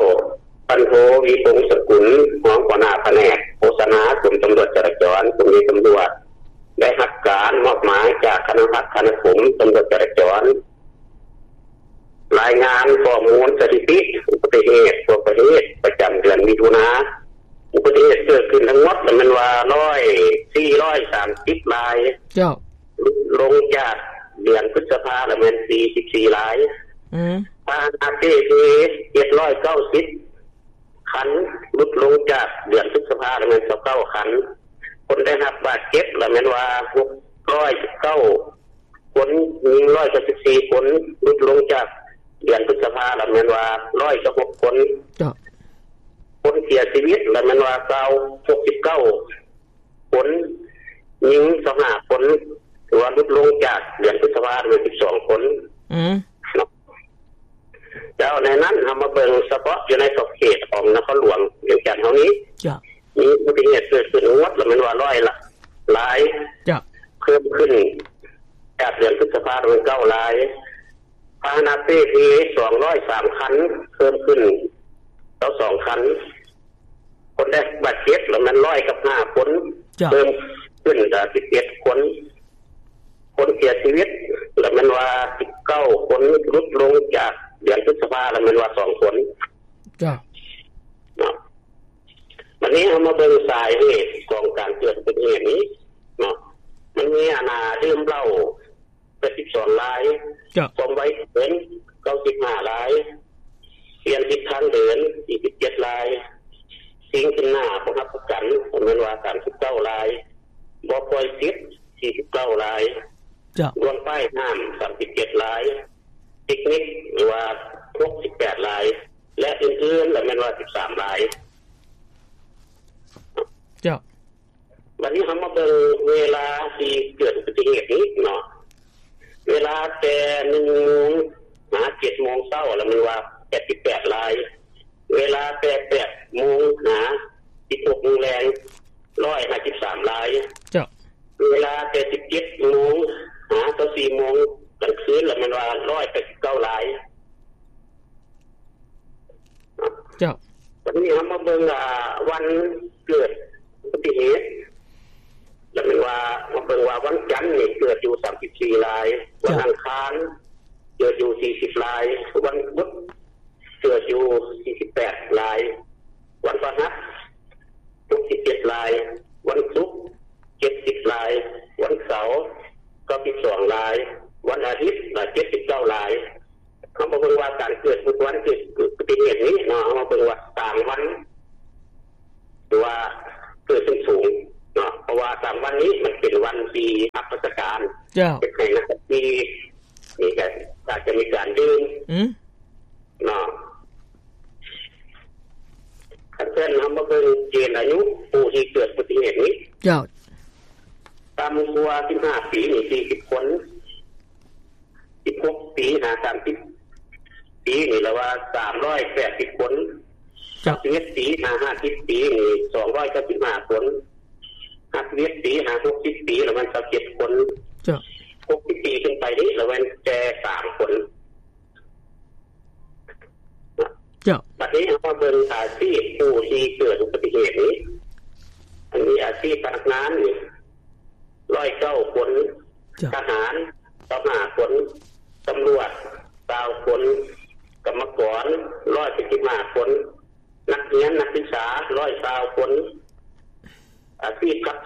ພັນໂທ ວິ ພົງສະກຸນ ຮອງຫົວໜ້າພະແນກໂຄສະນາ ກົມຕຳຫຼວດຈະລາຈອນ ກົມຕຳຫຼວດ ໄດ້ຮັບການມອບໝາຍຈາກຄະນະພັດທະນາຄົມຕຳຫຼວດຈະລາຈອນ ລາຍງານຂໍ້ມູນສະຖິຕິອຸບັດຕິເຫດທົ່ວປະເທດປະຈຳເດືອນມິຖຸນາ ອຸບັດຕິເຫດເກີດຂຶ້ນທັງໝົດລະແມ່ນວ່າ ຮ້ອຍ ສີ່ຮ້ອຍສາມສິບລາຍ ເຈົ້າ ຫຼຸດລົງຈາກເດືອນພຶດສະພາລະແມ່ນ ສີ່ສິບສີ່ລາຍ ອືມ ພາຫະນະເປ່ເພ ເຈັດຮ້ອຍເກົ້າສິບ ຄັນ ຫຼຸດລົງຈາກເດືອນພຶດສະພາລະແມ່ນ ຊາວເກົ້າຄັນ ຄົນໄດ້ຮັບບາດເຈັບລະແມ່ນວ່າ ຫົກຮ້ອຍສິບເກົ້າຄົນ ຍິງ ຮ້ອຍເກົ້າສິບສີ່ຄົນ ຫຼຸດລົງຈາກເດືອນພຶດສະພາລະແມ່ນວ່າ ຮ້ອຍຊາວຫົກຄົນ ເຈົ້າ ຄົນເສຍຊີວິດລະແມ່ນວ່າ ຊາວ ຫົກສິບເກົ້າຄົນ ຍິງ ຊາວຫ້າຄົນ ຖືວ່າຫຼຸດລົງຈາກເດືອນພຶດສະພາລະແມ່ນ ສິບສອງຄົນ ອືມ ເນາະ ເຈົ້າ ໃນນັ້ນເຮົາມາເບິ່ງສະເພາະຢູ່ໃນຂອບເຂດຂອງນະຄອນຫຼວງວຽງຈັນເຮົານີ້ ເຈົ້າ ມີອຸບັດຕິເຫດເກີດຂຶ້ນທັງໝົດລະແມ່ນວ່າ ຮ້ອຍລະ ລາຍ ເຈົ້າ ເພີ່ມຂຶ້ນຈາກເດືອນພຶດສະພາລະແມ່ນ ເກົ້າລາຍ ພາຫະນະເປ່ເພ ສອງຮ້ອຍສາມຄັນ ເພີ່ມຂຶ້ນ ຊາວສອງຄັນ ຄົນໄດ້ບາດເຈັບລະແມ່ນ ຮ້ອຍກັບຫ້າຄົນ ເຈົ້າ ເພີ່ມຂຶ້ນ ສິບເຈັດຄົນ ຄົນເສຍຊີວິດລະແມ່ນວ່າ ສິບເກົ້າຄົນ ຫຼຸດລົງຈາກເດືອນພຶດສະພາລະແມ່ນວ່າ ສອງຄົນ ເຈົ້າ ເນາະ ບັດນີ້ເຮົາມາເບິ່ງສາເຫດຂອງການເກີດອຸບັດຕິເຫດນີ້ເນາະ ມັນມີອັນນ່າ ດື່ມເຫຼົ້າ ແປດສິບສອງລາຍ ເຈົ້າ ຄວາມໄວເກີນ ເກົ້າສິບຫ້າລາຍ ປ່ຽນທິດທາງເດີນ ສີ່ສິບເຈັດລາຍ ຊິງຂຶ້ນໜ້າບໍ່ຮັບປະກັນ ແມ່ນວ່າ ສາມສິບເກົ້າລາຍ ບໍ່ປ່ອຍສິດ ສີ່ສິບເກົ້າລາຍ ເຈົ້າ ລ່ວງປ້າຍຫ້າມ ສາມສິບເຈັດລາຍ ຕິກນິກ ຫຼືວ່າ ຫົກສິບແປດລາຍ ແລະ ອື່ນໆລະແມ່ນວ່າ ສິບສາມລາຍ ເຈົ້າ. ບັດນີ້ເຮົາມາເບິ່ງເວລາທີ່ເກີດອຸບັດຕິເຫດນີ້ເນາະ ເວລາແຕ່ໜຶ່ງໂມງຫາເຈັດໂມງເຊົ້າລະແມ່ນວ່າ ແປດສິບແປດລາຍ ເວລາແຕ່ແປດໂມງຫາສິບຫົກໂມງແລງ ຮ້ອຍຫ້າສິບສາມລາຍ ເຈົ້າ ເວລາແຕ່ສິບເຈັດໂມງຫາຊາວສີ່ໂມງກາງຄືນລະແມ່ນວ່າ ຮ້ອຍແປດສິບເກົ້າລາຍ. ເຈົ້າ ບັດນີ້ເຮົາມາເບິ່ງ ອ່າ ວັນເກີດອຸບັດຕິເຫດ ລະແມ່ນວ່າ ມາເບິ່ງວ່າວັນຈັນນີ້ເກີດຢູ່ສາມສິບສີ່ລາຍ, ເຈົ້າ ວັນອັງຄານເກີດຢູ່ສີ່ສິບລາຍ, ວັນພຸດເກີດຢູ່ສີ່ສິບແປດລາຍ, ວັນພະຫັດຫົກສິບເຈັດລາຍ, ວັນສຸກເຈັດສິບລາຍ, ວັນເສົາເກົ້າສິບສອງລາຍ, ວັນອາທິດເຈັດສິບເກົ້າລາຍ. ເຮົາມາເບິ່ງວ່າການເກີດອຸບັດຕິເຫດນີ້ເນາະ ເຮົາມາເບິ່ງວ່າສາມວັນ ຖືວ່າເກີດຂຶ້ນສູງເນາະ ເພາະວ່າສາມວັນນີ້ມັນເປັນວັນທີ່ຮັບລາຊະການ ເຈົ້າ ເຮັດໃຫ້ນັກຂັບຂີ່ນີ້ກໍອາດຈະມີການດື່ມ ອືມ ເນາະ. ຄັນຊັ້ນເຮົາມາເບິ່ງເກນອາຍຸຜູ້ທີ່ເກີດອຸບັດຕິເຫດນີ້ ເຈົ້າ ຕ່ຳກວ່າສິບຫ້າປີນີ້ສີ່ສິບຄົນ, ສິບຫົກປີຫາສາມສິບປີນີ້ລະວ່າສາມຮ້ອຍແປດສິບຄົນ, ເຈົ້າ ສິບເອັດປີຫາຫ້າສິບປີນີ້ສອງຮ້ອຍເກົ້າສິບຫ້າຄົນ, ຫ້າສິບເອັດປີຫາຫົກສິບປີລະແມ່ນຊາວເຈັດຄົນ, ເຈົ້າ ຫົກສິບປີຂຶ້ນໄປນີ້ລະແມ່ນແຕ່ສາມຄົນ. ເຈົ້າ ບັດນີ້ເຮົາມາເບິ່ງອາຊີບຜູ້ທີ່ເກີດອຸບັດຕິເຫດນີ້ ອັນນີ້ອາຊີບພະນັກງານນີ້ຮ້ອຍເກົ້າຄົນ, ເຈົ້າ ທະຫານຊາວຫ້າຄົນ, ຕຳຫຼວດຊາວຄົນ, ກຳມະກອນຮ້ອຍເຈັດສິບຫ້າຄົນ, ນັກຮຽນນັກສຶກສາຮ້ອຍຊາວຄົນ, ອາຊີບຂັບ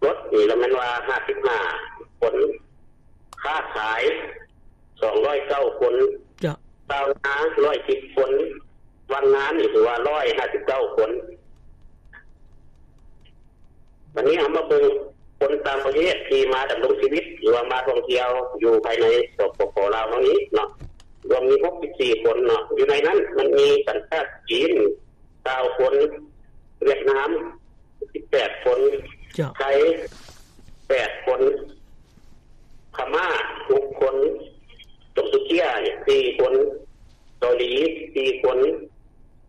ລົດນີ້ລະແມ່ນວ່າຫ້າສິບຫ້າຄົນ, ຄ້າຂາຍສອງຮ້ອຍເກົ້າຄົນ, ເຈົ້າ ຊາວນາຮ້ອຍສິບຄົນ, ວ່າງງານນີ້ຖືວ່າຮ້ອຍຫ້າສິບເກົ້າຄົນ. ບັດນີ້ເຮົາມາເບິ່ງຄົນຕ່າງປະເທດທີ່ມາດຳລົງຊີວິດ ຫຼືວ່າມາທ່ອງທ່ຽວຢູ່ພາຍໃນ ສປປ ລາວເຮົານີ້ເນາະ, ລວມມີຫົກສິບສີ່ຄົນເນາະ, ຢູ່ໃນນັ້ນມັນມີສັນຊາດຈີນຊາວຄົນ, ຫວຽດນາມ ສິບແປດຄົນ, ເຈົ້າ ໄທແປດຄົນ, ພະມ້າຫົກຄົນ, ໂຕເກຍສີ່ຄົນ, ເກົາຫຼີສີ່ຄົນ,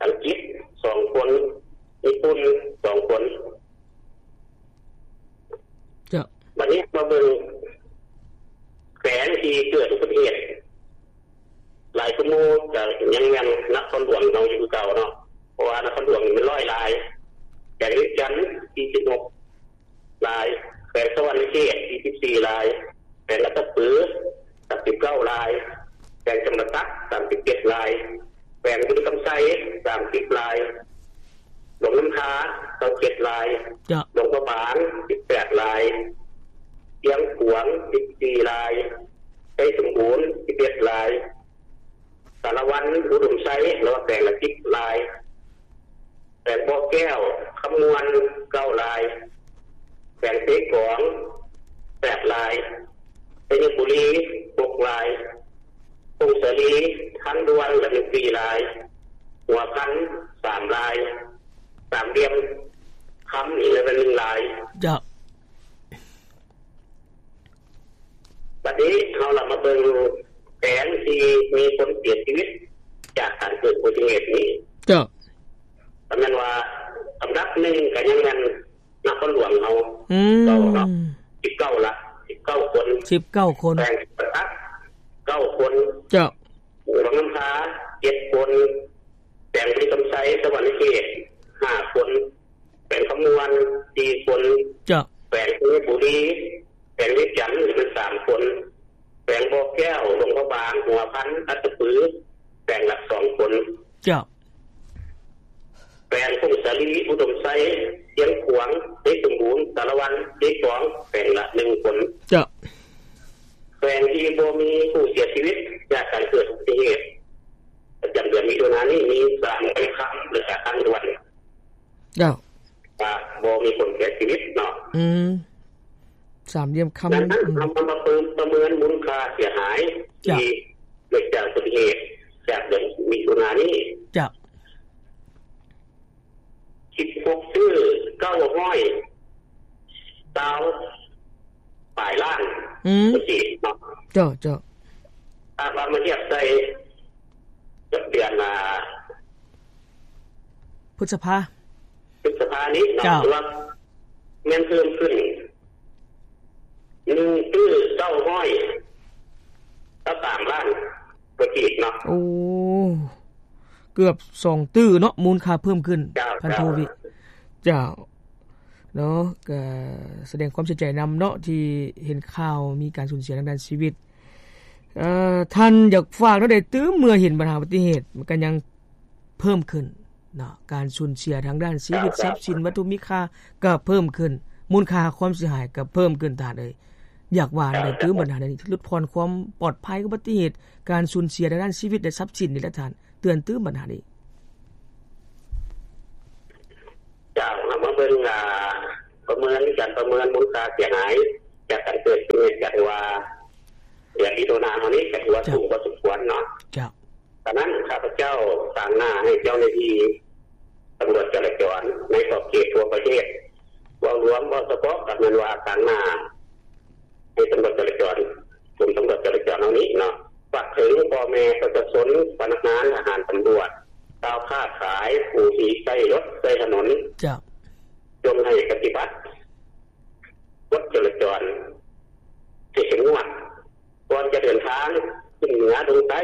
ອັງກິດສອງຄົນ, ຍີ່ປຸ່ນສອງຄົນ. ເຈົ້າ ບັດນີ້ມາເບິ່ງແຂວງທີ່ເກີດອຸບັດຕິເຫດ ຫຼາຍກວ່າໝູ່ກະຍັງແມ່ນນະຄອນຫຼວງເຮົາຢູ່ຄືເກົ່າເນາະ, ເພາະວ່ານະຄອນຫຼວງນີ້ມັນຮ້ອຍລາຍ, ແຂວງວຽງຈັນສີ່ສິບຫົກລາຍ, ແຂວງສະຫວັນນະເຂດສີ່ສິບສີ່ລາຍ, ແຂວງອັດຕະປືສາມສິບເກົ້າລາຍ, ແຂວງຈຳປາສັກສາມສິບເຈັດລາຍ, ແຂວງບໍລິຄຳໄຊສາມສິບລາຍ, ຫຼວງນ້ຳທາຊາວເຈັດລາຍ, ເຈົ້າ ຫຼວງພະບາງສິບແປດລາຍ, ຊຽງຂວາງສິບສີ່ລາຍ, ໄຊສົມບູນສິບເອັດລາຍ, ສາລະວັນ ອຸດົມໄຊ ລະວ່າແຂວງລະສິບລາຍ, ແຂວງບໍ່ແກ້ວ ຄຳມ່ວນເກົ້າລາຍ, ແຂວງເຊກອງແປດລາຍ, ໄຊຍະບູລີຫົກລາຍ, ຜົ້ງສາລີ ທາງດ່ວນລະມີສີ່ລາຍ, ຫົວພັນສາມລາຍ, ສາມຫຼ່ຽມຄຳອີກລະໜຶ່ງລາຍ. ເຈົ້າ ບັດນີ້ເຮົາລະມາເບິ່ງແຂວງທີ່ມີຄົນເສຍຊີວິດຈາກການເກີດອຸບັດຕິເຫດນີ້. ເຈົ້າ ກໍແມ່ນວ່າອັນດັບໜຶ່ງກໍຍັງແມ່ນນະຄອນຫຼວງເຮົາ ອືມ ເກົ່າເນາະ ສິບເກົ້າລະ ສິບເກົ້າຄົນ, ສິບເກົ້າຄົນ, ແຂວງຈຳປາສັກເກົ້າຄົນ. ເຈົ້າ ຫຼວງນ້ຳທາເຈັດຄົນ, ແຂວງບໍລິຄຳໄຊ ສະຫວັນນະເຂດຫ້າຄົນ, ແຂວງຄຳມ່ວນສີ່ຄົນ. ເຈົ້າ ແຂວງໄຊຍະບູລີ, ແຂວງວຽງຈັນມີສາມຄົນ, ແຂວງບໍ່ແກ້ວ, ຫຼວງພະບາງ, ຫົວພັນ, ອັດຕະປື ແຂວງລະສອງຄົນ. ເຈົ້າ ແຂວງຜົ້ງສາລີ, ອຸດົມໄຊ, ຊຽງຂວາງ, ໄຊສົມບູນ, ສາລະວັນ, ເຊກອງ ແຂວງລະໜຶ່ງຄົນ. ເຈົ້າ ແຂວງທີ່ບໍ່ມີຜູ້ເສຍຊີວິດຈາກການເກີດອຸບັດຕິເຫດປະຈຳເດືອນມິຖຸນານີ້ມີສາມແຂວງຄຳ ແລະກະທາງດ່ວນ. ເຈົ້າ ວ່າບໍ່ມີຄົນເສຍຊີວິດເນາະ. ອືມ ສາມຫຼ່ຽມຄຳ. ດັ່ງນັ້ນ ອືມ ເຮົາມາປະເມີນ ປະເມີນມູນຄ່າເສຍຫາຍ ເຈົ້າ ທີ່ເກີດຈາກອຸບັດຕິເຫດຈາກເດືອນມິຖຸນານີ້. ເຈົ້າ ສິບຫົກຕື້ເກົ້າຮ້ອຍຊາວປາຍລ້ານ ອືມ ເນາະ. ເຈົ້າ ເຈົ້າ ຖ້າວ່າມາທຽບໃສ່ກັບເດືອນ ອ່າ ພຶດສະພາ ພຶດສະພານີ້ເນາະ ເຈົ້າ ຖືວ່າແມ່ນເພີ່ມຂຶ້ນໜຶ່ງຕື້ເກົ້າຮ້ອຍຊາວສາມລ້ານກວ່າກີບເນາະ. ໂອ້ ເກືອບສອງຕື້ເນາະ ມູນຄ່າເພີ່ມຂຶ້ນ. ເຈົ້າ ພັນໂທ ເຈົ້າ ວິ ເຈົ້າ ເນາະ ກະສະແດງຄວາມເສຍໃຈນຳເນາະ ທີ່ເຫັນຂ່າວມີການສູນເສຍທາງດ້ານຊີວິດ. ເອີ ທ່ານຢາກຝາກແນວໃດຕື່ມ ເມື່ອເຫັນບັນຫາອຸບັດຕິເຫດ ມັນກະຍັງເພີ່ມຂຶ້ນເນາະ ການສູນເສຍທາງດ້ານຊີວິດ ເຈົ້າ ຊັບສິນ ວັດຖຸມີຄ່າກະເພີ່ມຂຶ້ນ ມູນຄ່າຄວາມເສຍຫາຍກະເພີ່ມຂຶ້ນ. ທ່ານເອີຍ ຢາກວ່າແນວໃດຕື່ມ ເຈົ້າ ບັນຫານີ້ ຫຼຸດຜ່ອນຄວາມປອດໄພອຸບັດຕິເຫດ ການສູນເສຍທາງດ້ານຊີວິດ ແລະ ຊັບສິນນີ້ແຫຼະທ່ານ ເຕືອນຕື່ມບັນຫານີ້. ເຈົ້າ ເຮົາມາເບິ່ງ ອ່າ ປະເມີນ ການປະເມີນມູນຄ່າເສຍຫາຍຈາກການເກີດເຫດການທີ່ວ່າ ເດືອນມິຖຸນາເຮົານີ້ ກໍຖືວ່າ ເຈົ້າ ສູງພໍສົມຄວນເນາະ. ເຈົ້າ ສະນັ້ນ ຂ້າພະເຈົ້າຕາງໜ້າໃຫ້ເຈົ້າໜ້າທີ່ ຕຳຫຼວດຈະລາຈອນໃນຂອບເຂດທົ່ວປະເທດ ເວົ້າລວມ ເວົ້າສະເພາະກໍແມ່ນວ່າທາງໜ້າໃຫ້ຕຳຫຼວດຈະລາຈອນ ກົມຕຳຫຼວດຈະລາຈອນເຮົານີ້ເນາະ ຝາກເຖິງພໍ່ແມ່ປະຊາຊົນ, ພະນັກງານ, ທະຫານ, ຕຳຫຼວດ, ຊາວຄ້າຂາຍ, ຜູ້ທີ່ໃຊ້ລົດໃຊ້ຖະໜົນ ເຈົ້າ ຈົ່ງໃຫ້ປະຕິບັດກົດຈະລາຈອນທີ່ເຂັ້ມງວດ ກ່ອນຈະເດີນທາງຂຶ້ນເໜືອລົງໃຕ້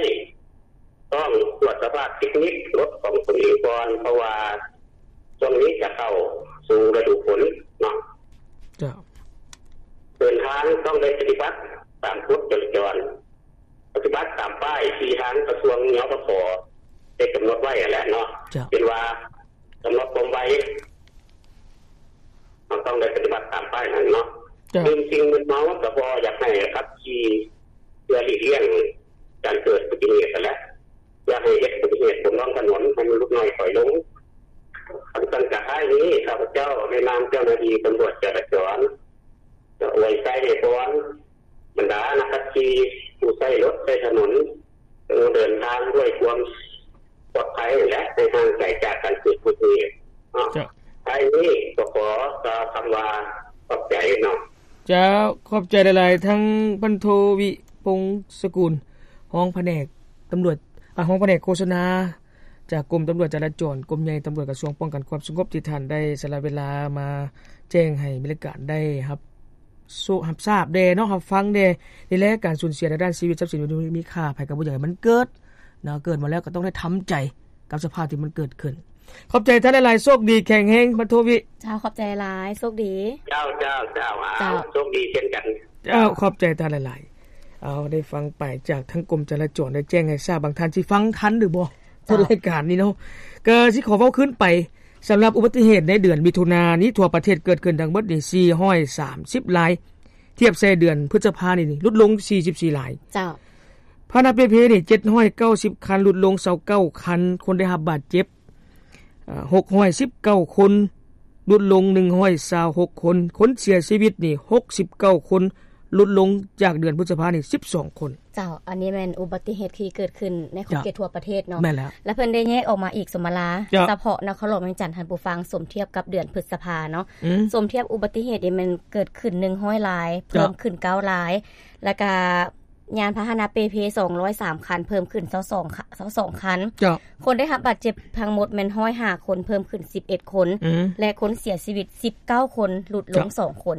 ຕ້ອງກວດສະພາບເຕັກນິກລົດຂອງຕົນເອງກ່ອນ ເພາະວ່າຊ່ວງນີ້ຈະເຂົ້າສູ່ລະດູຝົນເນາະ. ເຈົ້າ. ເດີນທາງຕ້ອງໄດ້ປະຕິບັດຕາມກົດຈະລາຈອນ, ປະຕິບັດຕາມປ້າຍທີ່ທາງກະຊວງ ນປຄ ໄດ້ກຳນົດໄວ້ຫັ້ນແຫຼະເນາະ. ເຈົ້າ. ເຊັ່ນວ່າ ກຳນົດຄວາມໄວ ເຮົາຕ້ອງໄດ້ປະຕິບັດຕາມປ້າຍນັ້ນເນາະ. ເຈົ້າ. ດື່ມສິ່ງມຶນເມົາກໍບໍ່ຢາກໃຫ້ຂັບຂີ່ ເພື່ອຫຼີກລ່ຽງການເກີດອຸບັດຕິເຫດຫັ້ນແຫຼະ. ຢາກໃຫ້ເຮັດອຸບັດຕິເຫດບົນທ້ອງຖະໜົນໃຫ້ມັນຫຼຸດໜ້ອຍຖອຍລົງ. ຄັນຊັ້ນກະທ້າຍນີ້ ຂ້າພະເຈົ້າໃນນາມເຈົ້າໜ້າທີ່ຕຳຫຼວດຈະລາຈອນ ຈະອວຍໄຊໃຫ້ພອນ ບັນດານັກຂັບຂີ່ ຜູ້ໃຊ້ລົດໃຊ້ຖະໜົນ ຈົ່ງເດີນທາງດ້ວຍຄວາມປອດໄພ ແລະ ໃຫ້ຫ່າງໄກຈາກການເກີດອຸບັດຕິເຫດເນາະ. ເຈົ້າ. ທ້າຍນີ້ກໍຂໍກ່າວຄຳວ່າຂອບໃຈເນາະ. ເຈົ້າ, ຂອບໃຈຫຼາຍໆ ທັງພັນໂທ ວິພົງສະກຸນ ຮອງພະແນກຕຳຫຼວດ ອາ ຮອງພະແນກໂຄສະນາ ຈາກກົມຕຳຫຼວດຈະລາຈອນ ກົມໃຫຍ່ຕຳຫຼວດ ກະຊວງປ້ອງກັນຄວາມສະຫງົບ ທີ່ທ່ານໄດ້ສະຫຼະເວລາມາແຈ້ງໃຫ້ມີລາຍການໄດ້ຮັບ ໂຊ ຮັບຊາບແດ່ເນາະ ຮັບຟັງແດ່. ນີ້ແຫຼະ ການສູນເສຍໃນດ້ານຊີວິດຊັບສິນມີຄ່າ ໃຜກໍບໍ່ຢາກໃຫ້ມັນເກີດເນາະ. ເກີດມາແລ້ວກໍຕ້ອງໄດ້ທຳໃຈກັບສະພາບທີ່ມັນເກີດຂຶ້ນ. ຂອບໃຈທ່ານຫຼາຍໆ ໂຊກດີແຂງແຮງ ພັນໂທ ວິ. ເຈົ້າ, ຂອບໃຈຫຼາຍ, ໂຊກດີ. ເຈົ້າ, ເຈົ້າ, ເຈົ້າ. ເຈົ້າ, ໂຊກດີເຊັ່ນກັນ. ເຈົ້າ, ຂອບໃຈທ່ານຫຼາຍໆ. ເອົາ, ໄດ້ຟັງໄປຈາກທາງກົມຈະລາຈອນ ໄດ້ແຈ້ງໃຫ້ຊາບ. ບາງທ່ານຊິຟັງທັນຫຼືບໍ່ ເຈົ້າ, ຕົ້ນລາຍການນີ້ເນາະ. ກໍຊິຂໍເວົ້າຄືນໄປ ສຳລັບອຸບັດຕິເຫດໃນເດືອນມິຖຸນານີ້ ທົ່ວປະເທດເກີດຂຶ້ນທັງໝົດນີ້ສີ່ຮ້ອຍສາມສິບລາຍ, ທຽບໃສ່ເດືອນພຶດສະພານີ້ຫຼຸດລົງສີ່ສິບສີ່ລາຍ. ເຈົ້າ. ພາຫະນະເປເພນີ້ເຈັດຮ້ອຍເກົ້າສິບຄັນ, ຫຼຸດລົງຊາວເກົ້າຄັນ, ຄົນໄດ້ຮັບບາດເຈັບ ເອີ ຫົກຮ້ອຍສິບເກົ້າຄົນ, ຫຼຸດລົງໜຶ່ງຮ້ອຍຊາວຫົກຄົນ, ຄົນເສຍຊີວິດນີ້ຫົກສິບເກົ້າຄົນ, ຫຼຸດລົງຈາກເດືອນພຶດສະພານີ້ສິບສອງຄົນ. ເຈົ້າ, ອັນນີ້ແມ່ນອຸບັດຕິເຫດທີ່ເກີດຂຶ້ນໃນຂອບເຂດ ເຈົ້າ ທົ່ວປະເທດເນາະ. ແມ່ນແລ້ວ. ແລ້ວເພິ່ນໄດ້ແຍກອອກມາອີກ ສົມມະລາ ເຈົ້າ ສະເພາະນະຄອນຫຼວງວຽງຈັນ ທ່ານຜູ້ຟັງ, ສົມທຽບກັບເດືອນພຶດສະພາເນາະ. ອືມ. ສົມທຽບອຸບັດຕິເຫດນີ້ແມ່ນເກີດຂຶ້ນໜຶ່ງຮ້ອຍລາຍ, ເຈົ້າ ເພີ່ມຂຶ້ນເກົ້າລາຍ, ແລ້ວກະຍານພາຫະນະເປເພສອງຮ້ອຍສາມຄັນ, ເພີ່ມຂຶ້ນຊາວສອງ ຊາວສອງຄັນ. ເຈົ້າ. ຄົນໄດ້ຮັບບາດເຈັບທັງໝົດແມ່ນຮ້ອຍຫ້າຄົນ, ເພີ່ມຂຶ້ນສິບເອັດຄົນ, ອືມ ແລະ ຄົນເສຍຊີວິດສິບເກົ້າຄົນ, ຫຼຸດລົງ ເຈົ້າ ສອງຄົນ.